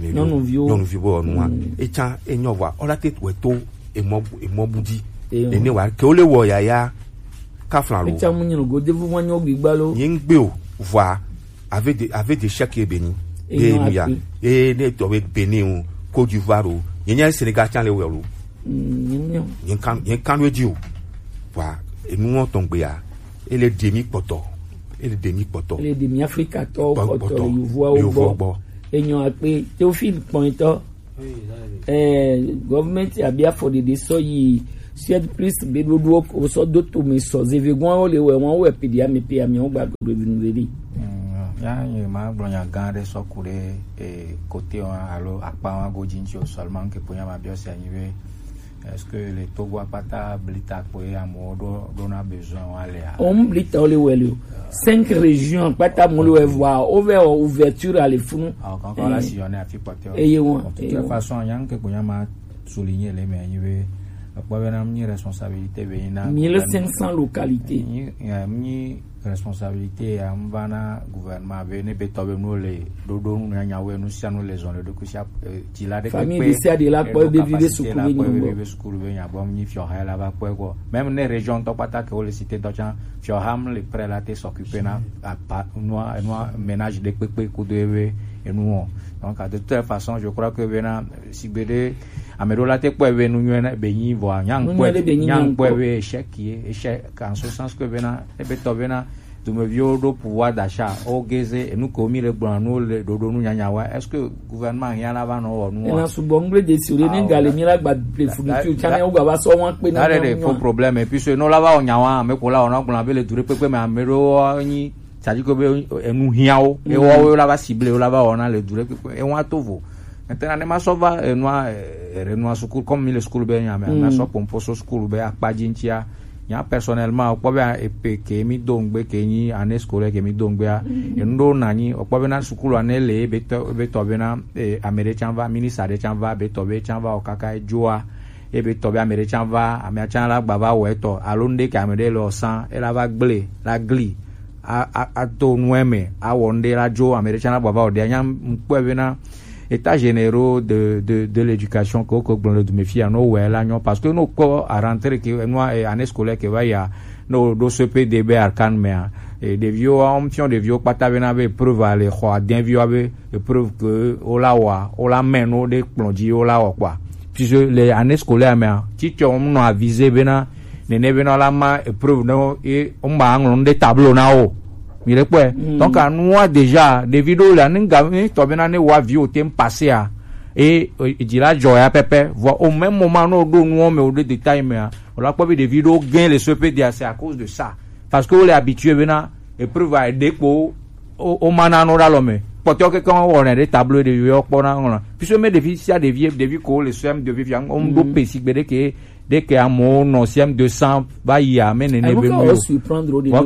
Nyɔnuviwo. Nyɔnuviwo nua. Etsa enyo wa. On la tête weto et mon et mon bouddhi. Et ne wa ke ole wo ya ya. Kaflan lo. Etsa mu nyinu go devu ma nyo gbigba lo. Nyingbe o. Voilà. Avec des avec des chèques et béni. Et non, ya. Et ne to be béni o. Côte d'Ivoire o. Nyenya Sénégal tsa le wo lo. Nyenya. Nyen kan nyen kan we di o. Voilà. Et nous on tombe ya. Et les demi kpoto. Et les demi kpoto. Ele demi Afrika tɔ Kpɔ- kpɔtɔ kpɔtɔ. Yovoawo Yovoawo gbɔ. Gbɔ. Enyo akpe Théophile kpɔnyitɔ. Eh, gɔvmɛnti abi afɔɖeɖe sɔ yi Suède plus be ɖoɖoɔ wosɔ do to me sɔ zevegoawo le wɛ wɔn wɛ pedi ame pe ame wɔn gba gbe vinu vedi. Ya ye ma gblɔ nya gã ɖe sɔ ku ɖe eh, kote wa alo akpa wa godzi ŋtsi o seulement ke ponya ma biɔ se anyi be est-ce que le Togo akpata blita kpoe amewo ɖo ɖona besoin wa lea? Wɔn blita wo le wɛ le o. Cinq régions akpata mo le wɛ vɔa wo vɛ wɔ ouverture ale funu. Alors quand on la sillonné à fi porter. Eye wɔn. De toute façon, il y a un que ponya ma souligner le mais il veut. Akpɔ be na mi responsabilité be na. Mille cinq cents localités. Ni ya mi responsabilité ya mva na gouvernement be ne be tɔ be nu le ɖoɖo nu nya nya we nu sia nu le zɔn le ɖo kusia ti la de famille de sia de la kpɔ be vi be sukulu be nyɔnu be sukulu be nya bɔ mi fiɔ ha la va kpɔ ko même ne région tɔ kpata ke wo le cité tɔ tsa fiɔ ha mi le prêt la te s'occuper na apa noa noa ménage de kpekpe kudo ebe enu o donc de toute façon je crois que be na sigbe de ame ɖewo la te kpɔe be nu nyuie na be nyi vɔa nya Nu ŋkpɔe nyuie ɖe be nyi nya nya ŋkpɔe ŋkpɔ. Be échec ye échec en ce sens que be na ebe tɔ be na dumeviwo ɖo pouvoir d'achat o geze enu ko mi le gblɔ nu le ɖoɖo nu nyanya wa est-ce que gouvernement hia la va nɔ wɔ nu wa? Ena sugbɔ ŋgble de si o ɖe ne ga le mi la gba ble funu ti o tsa ne wo gba va sɔ wɔn kpe na. That is the faux problème et puis ce no la va wɔ nya wa ame ko la wɔ na gblɔ be le du ɖe kpekpe me ame ɖewo nyi c'est-à-dire que be enu hiã wo ewɔwo la va cible wo la va wɔna le du ɖe kpekpe ewa to vo maintenant ne ma sɔ va enua ere nua sukulu comme mi le sukulu be nya me ma sɔ pompo so sukulu be akpa dzi ŋtia nya personnellement okpɔ be epe ke mi do ŋgbe ke nyi année scolaire ke mi do ŋgbea enu ɖo na nyi okpɔ be na sukulu ane le be tɔ be tɔ be na eh, ame ɖe tsa va ministre ɖe tsa va be tɔ be tsa va o kaka edzoa ebe tɔ be ame ɖe tsa va ame tsa la gba va wɔ etɔ alo ŋɖe ke ame ɖe le ɔsan ela va gble la gli a a ato nu eme awɔ ŋɖe la dzo ame ɖe tsa la gba va wɔ ɖe anya ŋkpɔe be na état généraux de de de l'éducation ke wokɔ gblɔ le dume fia no wɔ la nyɔ parce que no kɔ à rentrer ke nua eh, année scolaire ke va ya no ɖo C P D be arkan mea eh, ɖeviwo wɔm fiɔ ɖeviwo kpata be na be preuve ale xɔ adɛn viwo be preuve que wola wa wola mɛ no ɖe kplɔ dzi wola wɔ kpɔa puisque le année scolaire mea teacher wo nɔ aviser bena nene bena wola ma preuve no ye wo ma ŋlɔ nu ɖe tableau na wo mi le kpɔe donc anua déjà ɖevi ɖewo le ani ga mi tɔ bena ne wa vi wo te passer a et dzi la dzɔ ya pɛpɛ vɔ au même moment no ɖo nuwo me wo ɖe détail mea wola kpɔ be ɖevi ɖewo gain le C P D a c'est à cause de ça parce que wo le habitué bena épreuve a ɖe kpo o o ma na no ɖe alɔ me kpɔtɔ keke wɔn wɔnɛ ɖe tableau ɖevi yɔ kpɔ na ŋlɔ puisque me ɖevi sia ɖevi ɖevi ko le C M deux fifia ŋ ɖo pe si gbe ɖe ke ɖe ke amewo nɔ C M deux cent va yi ame nene be nu yo.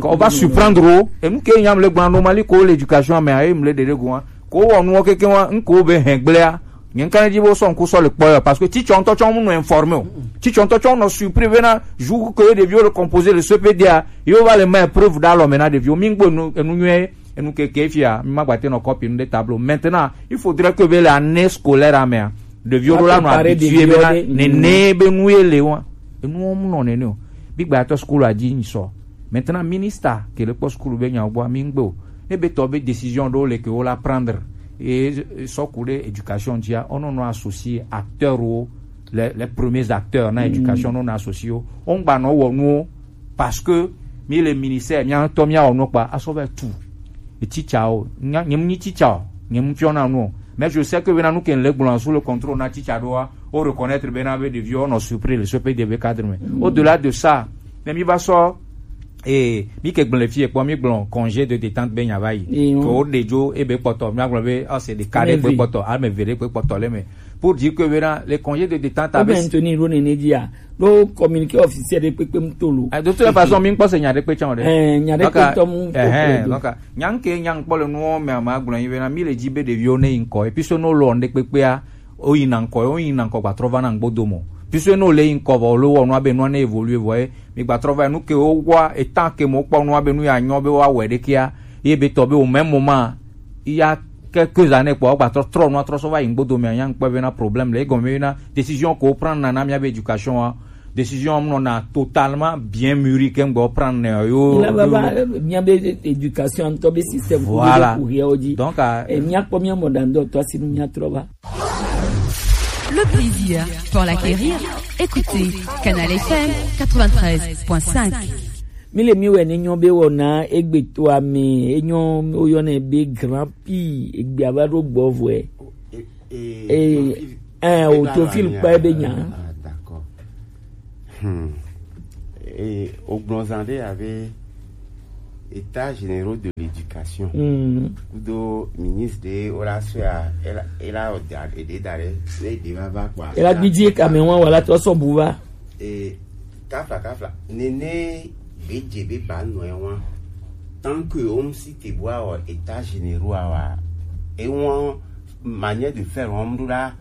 On va surprendre wo enu ke nyam le gblɔ normali ko le éducation me ayi mle ɖeɖe go wa ko wɔ nuwo keke wa ŋ ko be hɛn gblea nye ŋka ne dzi be wosɔ ŋku sɔ le kpɔ ya parce que titsɔ ŋutɔ tsɔ mu nɔ informé o titsɔ ŋutɔ tsɔ nɔ surpris bena jour que ɖeviwo le composé le C P D a yewo va le ma épreuve ɖe alɔ me na ɖeviwo mi ŋgbo enu enu nyuie enu keke fia mi ma gbate nɔ copie nu ɖe tableau maintenant il faudrait que be le année scolaire amea ɖeviwo ɖo la nɔ habitué bena nene be nu ye le wa enuwo mu nɔ nene o bi gba tɔ school adzi nyi sɔ maintenant ministre ke le kpɔ school be nyawo gbɔ mi ŋgbe o ne be tɔ be décision ɖewo le ke wo la prendre et sɔ ku ɖe éducation dzia wo nɔ nɔ associé acteur wo les les premiers acteurs na éducation nɔ nɔ associé wo wo ŋgba nɔ wɔ nuwo parce que mi le ministère mia ŋutɔ mia wɔ nuwo kpa asɔ va tu etitsawo nya nyem nyi titsawo nyem fiɔ na nuwo mais je sais que bena nu ke le gblɔ sous le contrôle na titsa ɖoa wo reconnaître bena be ɖeviwo nɔ surpris le sope de be cadre me au delà de ça ne mi va sɔ ee mi ke gblẽ fie kpɔ mi gblɔ congé de détente be nya va yi ke wo ɖe dzo ebe kpɔtɔ mi agblɔ be ɔ c'est des cas ɖe kpe kpɔtɔ ame ve ɖe kpe kpɔtɔ le me pour dire que bena le congé de détente abe ntoni ɖo nene dzia ɖo communiqué officiel ɖe kpekpe mu to lo. De toute façon mi ŋkpɔ se nya ɖe kpe tsã o ɖe. Nya ɖe kpe tɔ mu to kple do. Nya ŋke nya ŋkpɔ le nuwo me ma gblɔ yi bena mi le dzi be ɖeviwo ne yi ŋkɔ et puis so no lɔ ŋɖe kpekpea Wo yi na ŋkɔ, wo yi na ŋkɔ gba trɔ va na ŋgbo do mɔ. Puisque ne wo le yi ŋkɔ vɔ, wo le wɔ nua be nua ne évoluer vɔ ye, mi gba trɔ va nu ke wo wa etan ke mo kpɔ nua be nu ya nyɔ be wa wɛ ɖe kia, ye be tɔ be au même moment, il y a quelques années kpɔ, wo gba trɔ trɔ nua trɔ sɔ va yi ŋgbo do mɛ, nya ŋkpɔ be na problème le egɔme be na décision ko wo prendre na, na mia be éducation wa, décision nɔna totalement bien mûri ke ŋgbɔ prendre ne yo. Mía be éducation ŋutɔ be système ko Voilà. Ku hiawo dzi. Donc, euh, Et mía kpɔ mía mɔ ɖaŋdɔ tɔ si nu mía trɔ va. Le plaisir pour l'acquérir. Écoutez Canal F M quatre-vingt-treize point cinq. Mi le mi wɛ ne nyɔ be wɔna egbe to ame enyo o yɔ ne be grand pi egbe ava ɖo gbɔ vɔe. Eh, eh, au profil kpa ebe nya. Ah, d'accord. Hmm. Et au Bronzandé avait état généraux de l'éducation. Hmm. Kudo ministre de Ola Soya, ela, ela, ede dare, ne de va va kwa. Ela bidie kamewa wala to so buva. E kafla kafla nene gbedze be ba nɔe wa. Tant que wo ŋsi te bua wɔ état généraux awa, e wɔn manière de faire wɔn ɖo la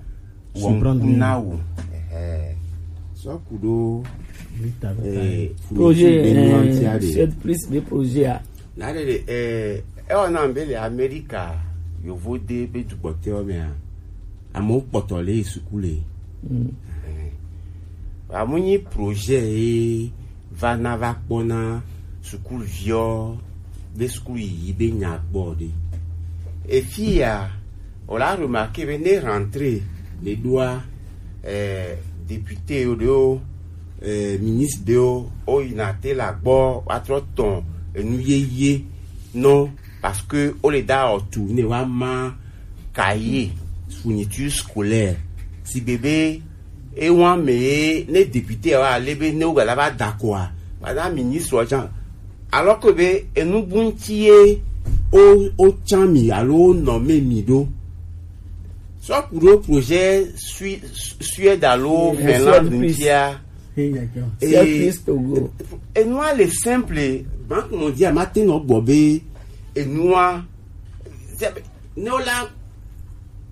wɔn kuna wo. Ɛhɛ. Sɔ ku ɖo eh, projet be nuantia de. Sept plus de projet a. Na ɖe ɖe eh, ewɔ na be le Amerika yovo de be dukpɔtɔ mea. Amewo kpɔtɔ le yi suku le. Amu nyi projet ye va na va kpɔ na sukuviɔ be suku yiyi be nya gbɔ ɖe. Efi ya, o la remarqué be ne rentrée le ɖoa, eh, député yo ɖewo, eh, ministre ɖewo, o yina te la gbɔ wa trɔ tɔn enu yeye nɔ, parce que o le da ɔtu ne wa ma cahier, fourniture scolaire. Si bebe e wan me ne député wa le be ne o gala va d'accord a, madame ministre wa jan. Alors que be enu bunti ye o o tsan mi alo o nɔ me mi ɖo. Sɔ ku ɖo projet Sui-, Suède alo Finlande ŋutia. Enua le simple, banque mondiale ma te nɔ gbɔ be enua ne o la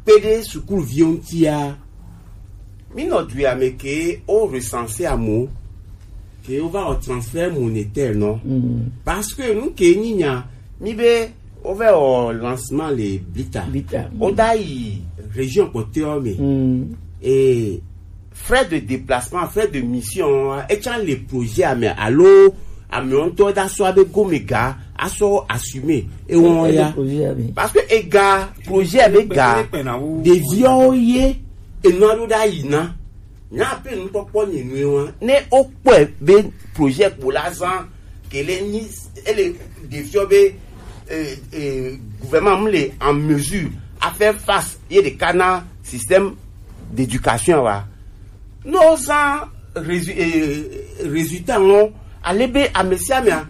kpe ɖe sukuviwo ŋutia, mi nɔ du ya me ke o recenser amewo, ke o va wɔ transfert monétaire nɔ. Parce que nu ke nyi nya, mi be o va wɔ lancement le Blita. Blita. O da yi région kpɔtɔewo me. Et frais de déplacement, frais de mission, etsa le projet ame alo ame ŋutɔ da sɔ abe gome ga asɔ assumer ewɔn ya. Parce que ega projet be ga ɖeviwo ye enua ɖo ɖa yi na. Nya pe nukpɔkpɔ nye nue wa. Ne o kpɔe be projet kpo la zan kele ni ele ɖeviwo be eh, eh, gouvernement mu le en mesure à faire face ye de kana système d'éducation wa. No zan résu-, eh, résultat ŋɔ ale be amesiamea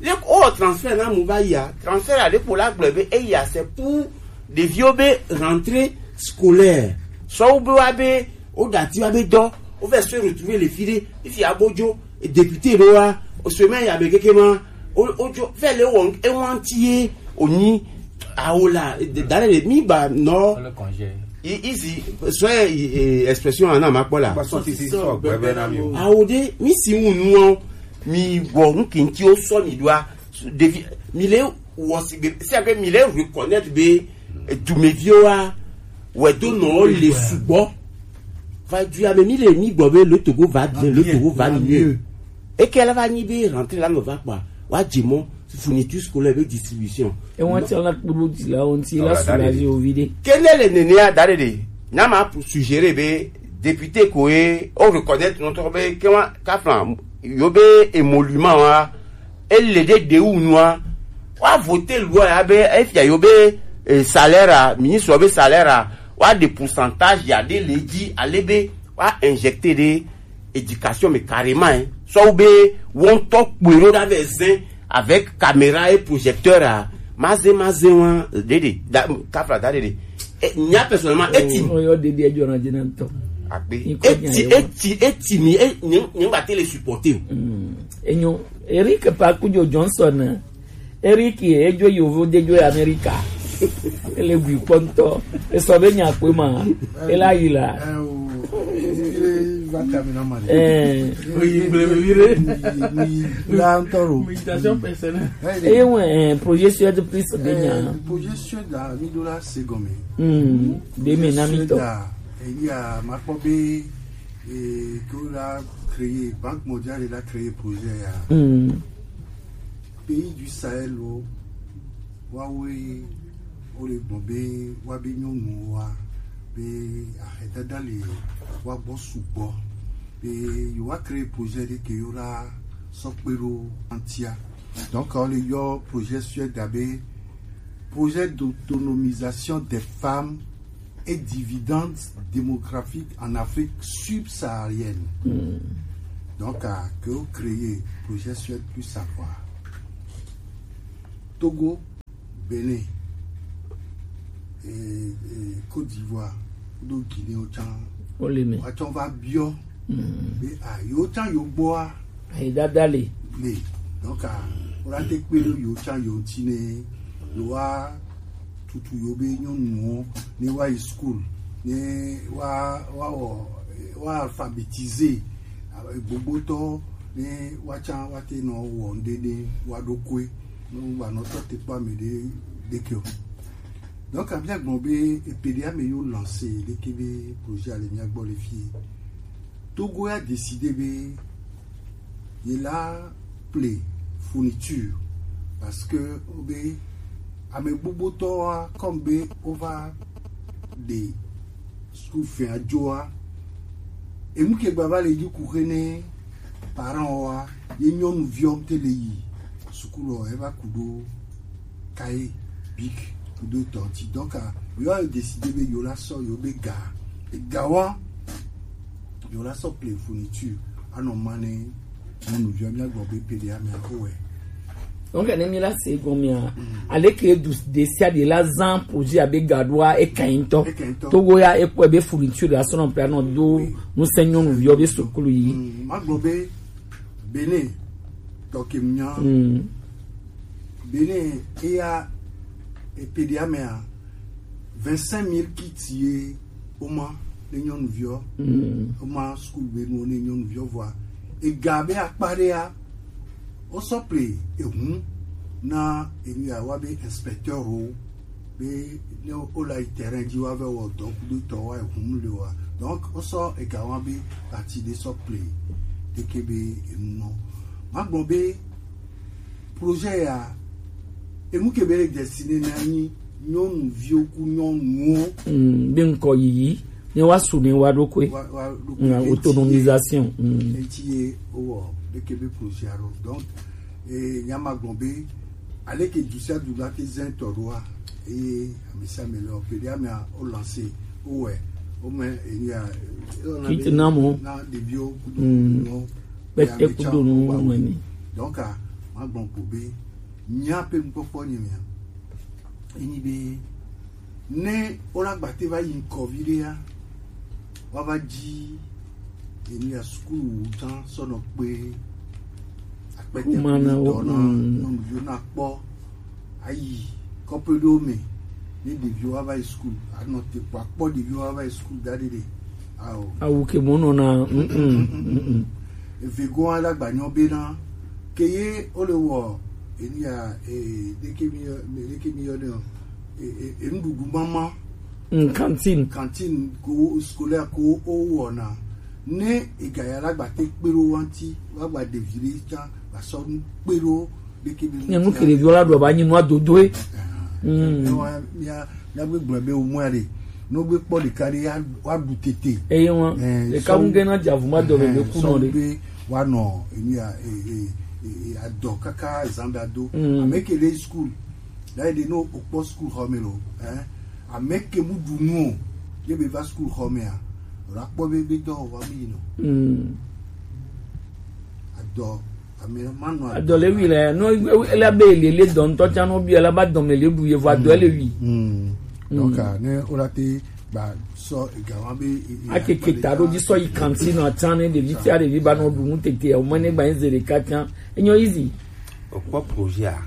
le o transfert na mu va yia transfert ale kpo la gblɔ be eya c'est pour ɖeviwo be rentrée scolaire. Sɔwu be wa be o dati wa be dɔ o fɛ se retrouver le fi ɖe ifi abodzo député ɖo wa o semaine ya be keke ma o o dzo fɛ le wɔ ewanti ye o nyi awo la dale le mi ba nɔ. Izi sɔ expression ana ma kpɔ la. Awo de mi si ŋu nuɔ mi wɔ ŋkinti o sɔ mi ɖoa ɖevi mi le wɔ sigbe si abe mi le reconnaître be dumeviwo wa wɛ do nɔ le sugbɔ. Va du ya me mi le mi gbɔ be le Togo va bien, le Togo va mieux. Eke la va nyi be rentrée la me va kpa wa dze mɔ fourniture scolaire be distribution. E wan ti la kpuru di la on ti la soulager o vide. Kene le nene a dare de na ma pour suggérer be député ko e o reconnaître notre be ke wa kafran yo be émolument wa ele de de wu nua wa voter loi ya be efia yo be eh, salaire a ministre be salaire a wa de pourcentage ya de le di ale be wa injecter de éducation mais carrément hein. Soit ou be won to kpero da ve zen avec caméra et projecteur a maze maze wa dede da kafra da dede. Eh, nya personnellement eti. Oyo dede ejo na jina to. Akpe. Eti eti eti mi e nyi nyi ba tele supporter. Enyo Eric Pakujo Johnson. Eric ejo yovo dejo America. Ele gui kpɔntɔ. Esɔ be nya kpe ma. Ela yi la. Eh, o, ele va ta mi na ma. Eh. Oyi gble mi re. Oyi la ntɔ ro. Méditation personnelle. Eye wɔ, eh, projet Suède plus be nya. Eh, projet Suède la, mi do la se gɔme. Hmm. De me na mi tɔ. Projet Suède la, eyi a ma kpɔ be, eh, ke wo la créer, Banque mondiale la créer projet ya. Hmm. Pays du Sahel wo, wawoe wo le gbɔn be wa be nyɔnuwo wa be ahedada le wa gbɔ sugbɔ be yewo wa créer projet ɖe ke yewo la sɔ kpe ɖo antia. Donc on le yɔ projet Suède abe projet d'autonomisation des femmes et dividendes démographiques en Afrique subsaharienne. Hmm. Donc, euh, que vous créez projet Suède plus savoir. Togo, Bénin, et, et Côte d'Ivoire, do Guinée au champ. Oleme. Au champ va bio. Hmm. Mais, ah, yo champ yo boa. Ayi dada le. Le. Donc, ah, on a te kpe ɖo yo champ yo tine. Lo wa tutu yo be nyɔnuwo ne wa yi school ne wa wa wɔ wa alphabétiser gbogbotɔ ne wa tsa wa te nɔ wɔ ŋɖe ne wa ɖo koe ne wa nɔ tɔ te kpɔ ame ɖe ɖe ke o. Donc abia gbɔn be epe ɖe ame yo lancer ɖe ke be projet ale mia gbɔ le fi. Togo ya décider be ye la ple fourniture parce que o be ame gbogbotɔ wa comme be o va ɖe school fee adzo wa. Enu ke gba va le dzi ku xe ne parent wa ye nyɔnuviɔ te le yi sukulu ɔ eva ku ɖo cahier, bic ku ɖo tɔ ŋti. Donc, ah, yo a décidé be yo la sɔ yo be ga, ga wa yo la sɔ ple fourniture anɔ ma ne nyɔnuviɔ mia gbɔ be pe ɖe ame ko wɛ. Donc ne mi la se gɔmea, aleke du ɖesiaɖe la zan projet abe gaɖoa ekan yi ŋutɔ. Ekan yi ŋutɔ. Togo ya ekpɔe be fourniture la sɔ nɔ pe anɔ do nusẽ nyɔnuviɔ be sukulu yi. Mm, ma gbɔ be Bénin tɔ ke nya. Mm. Bénin eya epe ɖe amea vingt-cinq mille kits ye woma ne nyɔnuviɔ. Mm. Woma school be nu ne nyɔnuviɔ vɔa. Ega be akpa ɖea wosɔ ple ehun na enu ya wa be inspecteur wo be ne wola yi terrain dzi wa vɛ wɔ dɔ kudo tɔ wa ehun le wa. Donc wosɔ ega wa be parti ɖe sɔ ple ɖeke be enu nɔ. Ma gbɔ be projet ya enu ke be le destiné na nyi nyɔnuviwo ku nyɔnuwo. Mm, be ŋkɔ yiyi ne wa su ne wa ɖo koe. Wa, wa ɖo koe. Mm, autonomisation. Mm. Eti ye wowɔ ɖeke be projet ya ɖo. Donc e nya ma gbɔ be aleke du sia du la te zɛn tɔ ɖoa eye ame sia ame le ɔpe ɖe amea o lancer o wɛ o mɛ enya kiti na mo na ɖeviwo kudo nuwo kpɛtɛ kudo nuwo mɛ ni. Donc a ma gbɔ ko be nya pe ŋkpɔkpɔ nye mea enyi be ne wola gbate va yi ŋkɔ viɖea wa va dzi enu ya sukulu wu tsan sɔnɔ kpe akpɛtɛ kpe dɔ na nyɔnuviwo na kpɔ ayi kɔƒe ɖewo me ne ɖeviwo wa va yi sukulu anɔ te kpɔ akpɔ ɖeviwo wa va yi sukulu da ɖe ɖe ao awu ke mo nɔ na. Eve gɔn ala gbanyɔ bena ke ye wole wɔ enu ya e ɖeke mi yɔ ɖeke mi yɔ ne o e e e nuɖuɖu mama. Mm, cantine. Cantine ko scolaire ko o wɔna ne ega ya la gba te kpe ɖo wa ŋti wa gba ɖevi ɖe tsa gba sɔ nu kpe ɖo ɖeke mi. Ne nu ke ɖeviwo la ɖu aba nyi nua dodoe. Mm. Mía mía gbe gblɔ be wo mɔa ɖe ne wo gbe kpɔ ɖeka ɖe ya wa ɖu tete. Eye ŋua ɖeka ŋu ge na dze avu ma dɔ le be ku nɔ ɖe. Be wa nɔ enu ya e e e adɔ kaka zan da do. Mm. Ame ke le school. D'ailleurs ɖe ne wokpɔ school xɔ me lo, hein, ame ke mu ɖu nu o, ye be va school xɔ mea, wòla kpɔ be be dɔ wa mi yi nɔ. Mm. Adɔ ame ma nɔ adɔ le wi le no ele be le le dɔ ŋutɔ tsa no bi ele ba dɔme le ɖu yevu adɔ le wi. Mm. Donc ne wola te ba sɔ ega wa be akeke ta ɖo dzi sɔ yi kanti nɔ atsa ne ɖevi tia ɖevi ba nɔ ɖu nu tete o mɛ ne gba nyi ze ɖeka tsa enyo easy. Wokpɔ projet a,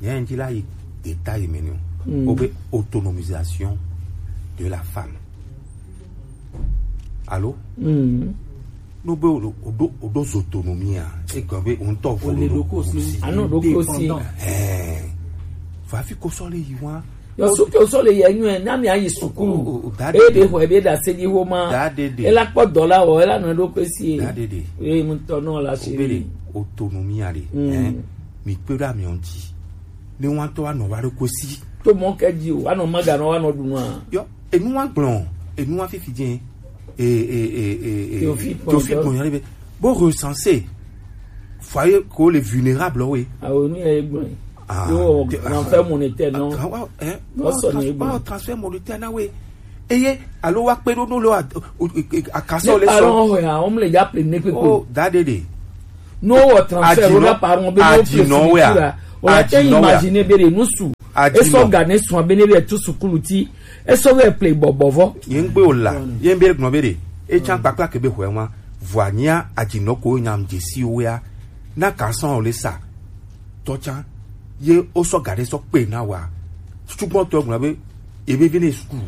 nye ŋdzi la yi détail me nɛ o. Mm. Obe autonomisation de la femme. Allô? Mm. No be o do, o do, o do zotonomie a. E gan be o ŋutɔ vo le do ko si. Ano do ko si. Eh. Fa fi ko sɔ le yi wa. Yo so ko sɔ le yi enyo e, na mi ayi sukulu. O, o, o, da e be de. Ho e be da se di ho ma. Da de de. E la kpɔ dɔ la o, e la nɔ do ko si. Da de de. E mu tɔ nɔ la se. O be de autonomie a de. Mm. Eh. Mi pe da mi onti. Ne wa tɔ wa nɔ wa do ko si. To mɔ ke di o, wa nɔ ma ga nɔ wa nɔ du nɔ a. Yo. Enu wa gblɔ, enu wa fifi jɛ, e, e, e, e, e, Théophile Théophile Kpɔnyɔ. Kpɔnyɔ ɖe be, bo recenser foyer ko le vulnérable we. Awo nu ye gblɔ. Ah, yo, te- transfert monétaire, non. Ah, wa, eh, Non, wa, sɔ ni trans- gblɔ. Wa transfert monétaire na we. Eye, alo wa kpe ɖo no le wa, o, o, o, akasɔ le sɔ. Parents ya, on le ya ple ne kpekpe. Oh, da de de. No wɔ transfert, Adinɔ, o na parents be no adinɔ ple wea. Sika. O la te Adinɔ wea. Imagine be de nu su. Adinɔ. E sɔ ga ne sɔ be ne be tu sukulu ti. Esɔ vɛ ple bɔbɔ vɔ. Ye ŋgbe o la, ye ŋgbe gblɔ be ɖe, e tsan kpakpla ke be xɔe wa, vɔa nyia adzinɔ ko nyam dzesi wea, na ka sɔn o le sa, tɔ tsan, ye o sɔ ga ɖe sɔ kpe na wa, tutugbɔn tɔ gblɔ be, ebe vi ne sukulu.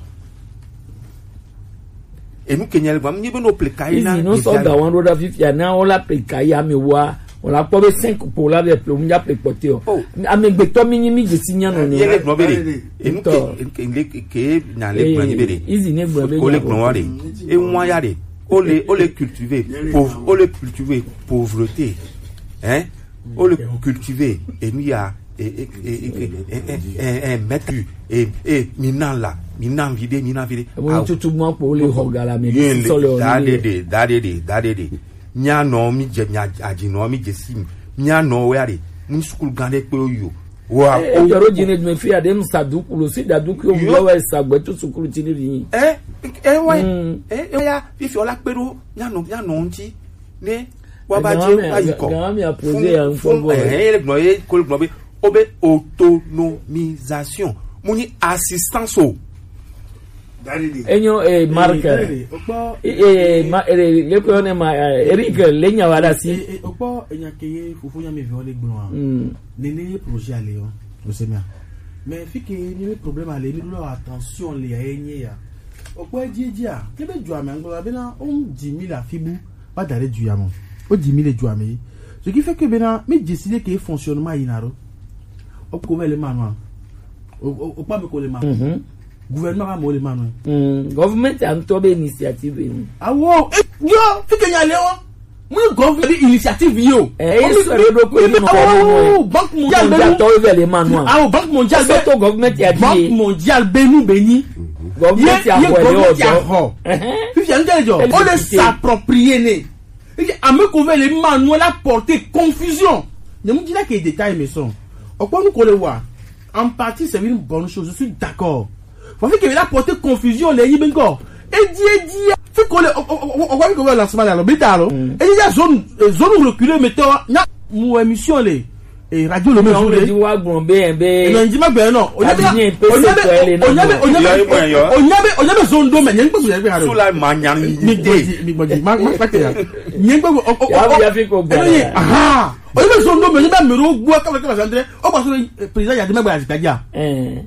Enu ke nya le gblɔ, mi be no ple ka yi na Izi no sɔ ga wan ɖo ɖa fifia, na o la ple ka yi ame wa, O la kpɔ be cinq po la vɛ ple, o mu dza ple kpɔtɛ o. Oh. Amegbetɔ mi nyi mi dzesi nya nɔ ne. Ye le gblɔ be de. Enu ke, enu ke, enu ke, ke nya le gblɔ nyi be de. Easy ne gblɔ be ko le gblɔ wa de. E wa ya de. O le, o le cultiver, pauvre, o le cultiver pauvreté. Hein? O le cultiver enu ya, e, e, mettre, e, e, mi na la, mi na vi de, mi na vi de. Wo tutu mo kpo le ho gala mi de si sɔ le o. Da de de, da de de, da de de. Mía nɔ mi dze mía adzi nɔ mi dze si mi. Mía nɔ wɛ aɖe. Mu sukulu gã ɖe kpe yo. Wa. E, o jɔ ɖo dzi ne dzi me fi aɖe mu sa du kulo si da du kulo mu yɔ wɛ sa gbɛ to sukulu ti ne vi. E, e wa. Mm. E, e ya fifi ola kpe ɖo mía nɔ mía nɔ ŋuti. Ne wa ba dze wa yi kɔ. Gã mi a poser ya ŋfɔ bɔ. E, e le gblɔ ye ko le gblɔ be o be autonomisation. Mu ni assistance o. Enyo, eh, Mark. Eh, ma, eh, le ko ne ma, eh, Eric, le nya wa da si. Eh, eh, okpɔ enya ke ye fofo nya mi vɔ le gblɔ a. Mm. Nene ye projet ale o. O se mia. Mais fi ke ni le problème ale mi do attention le ya ye nye ya. Okpɔ edzi edzi a. Ke be dua me nglo be na o dix mille afi bu. Ba da ɖe du ya me. O dix mille dua me. Ce qui fait que bena mi décider que fonctionnement yi na ro. O ko me le manu a. O, o, o kpa me ko le manu. Mhm. Gouvernement ba mo le manu. Mm. Government a ŋutɔ be initiative ni. Awo, e, yo, fi ke nya le o. Mu government be initiative yo. Eh, o mi so le do ko ni no. Awo, Banque Mondiale be. Tɔ ve le manu a. Awo, Banque Mondiale be. So to government ya di. Banque Mondiale be nu be ni. Government ya ho le o. Fifi an ke jo. O le s'approprier ne. Eke ame ko vɛ le ma nu la porter confusion. Ne mu dina ke détail me son. Okpɔ nu ko le wa. En partie, c'est une bonne chose. Je suis d'accord. Faut que la porter confusion le yi bengo. E di e di. Fi ko le o o o o ko le lancement la lo bi ta lo. E di ya zone, eh, zone reculée mettons na mu émission le. Eh, radio le même jour. Di wa gbɔn be be. E na ndi ma gbɛ nɔ. O nya be o nya be o nya be o nya be o nya be o nya be zone do me nya ngbe so ya be ha. So la ma nya ni. Mi gbɔdi mi gbɔdi ma ma kpɛtɛ ya. Nya ngbe o o o. Ya fi ko gbɔn. Aha. O nya be zone do me nya be mi ro gbɔ ka ka ka andre. O ba so président ya de me gba ya ti ta ja. Eh.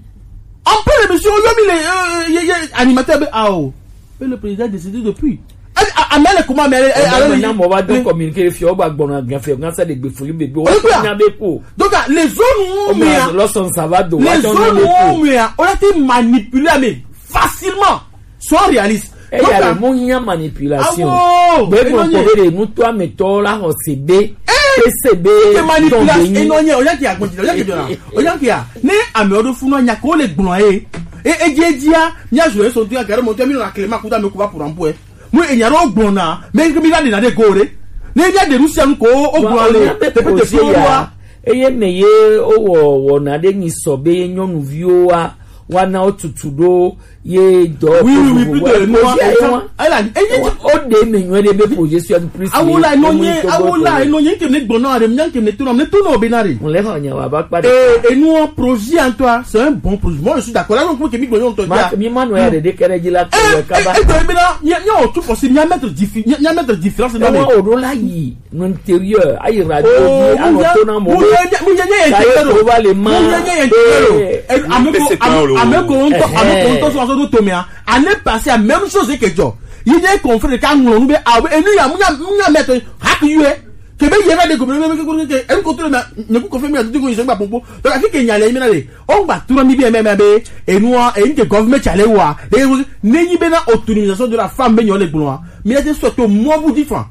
En pleine émission, o yo mi le, euh, ye, ye, animateur be, ah, oh. Et le président a décidé depuis. A, a, a, mais elle est comment, mais elle, elle, elle, na mo ba do communiquer fi o ba gbɔna gan fi o gan sa de gbe fuli bebe o. Nya be ko. Donc, ah, les zones où on met, lɔsɔn ça va do les zones où on met, on a été manipulé, mais facilement. Sois réaliste. E ya le mo nya manipulation. Awo. Be mo ko be de nu to ametɔ la ho se be. Pe se be. Ke manipulation. E no nya o ya ki agbɔn ti o ya ki jona. O ya ki a. Ne ame o do funu nya ko le gbɔn e. E e je dia. Nya zo e so tu ya garo mo te mi na kle ma kuta me ku ba pour ampo e. Mo e nya ro gbɔn na. Me ke mi la de na de gore. Ne nya de Russia nu ko o gbɔn le. Te pe te fi o wa. Eye me ye o wɔ wɔna ɖe nyi sɔ be ye nyɔnuviwo wa Wana wo tutu ɖo ye dɔ. Oui, oui, oui, plutôt enu wa, enu wa. Ayila, eyi ti o de me nyuie ɖe be projet Suède plus. Awo la, eno nye, awo la, eno nye, nke mi gbɔna ɖe, nya nke mi to na, mi to na o be na ɖe. Mo le fa nya wa ba kpa ɖe. Eh, enu wa, projet en toi, c'est un bon projet. Moi, je suis d'accord. Là, donc, ke mi gbɔna o to. Ma, mi ma no ya ɖe ɖe kɛɖe dzi la, ke eh, kaba. Eh, eh, mi na, mi, mi o tu possible, mi a mettre diffi-, mi, mi a mettre différence dans les. O ɖo la yi. Intérieur, ayi radio dzi, anɔ to na mɔ. Mu ye nye, mu ye nye intérieur o. Mu ye nye intérieur o. Eh, ame ko, ame, ame ko ŋutɔ, ame ko ŋutɔ sɔ sɔ ɖo to mea. Année passée, la même chose ke dzɔ. Yi nye confrère ka ŋlɔ nu be, ah, enu ya, mu nya, mu nya mɛ to, haki yue. Ke be ye va de go, enu ko to le mea, nye ku confrère mi adu ko yi sɔ gba popo. Donc, afi ke nya le mi na le. O gba tura mi bi mɛ mɛ be, enu wa, enu ke government tsa le wa. E, ne nyi be na autonomisation de la femme be nyɔ le gblɔ wa. Mi na te sɔ to mɔ bu di fan.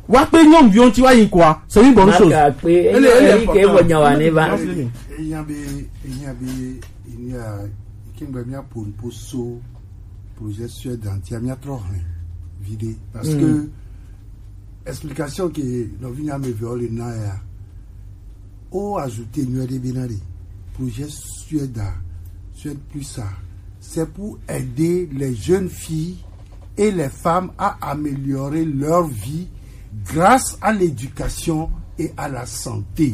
Wa kple nyɔnuviwo ŋuti wa yi kɔa, c'est une bonne chose. Maka kpe, ele, ele enyi ke important. Wɔ nya wa ne va. Ehiã be, ehiã be, ehiã, ke ŋgbe mía ƒo nu ƒo so projet Suède ŋutia, mía trɔ hlẽ viɖe. Parce que explication ke nɔvi nya me ve le na ya, o ajouter nyuie ɖe be na ɖe, projet Suède, Suède plus ça, c'est pour aider les jeunes filles et les femmes à améliorer leur vie grâce à l'éducation et à la santé.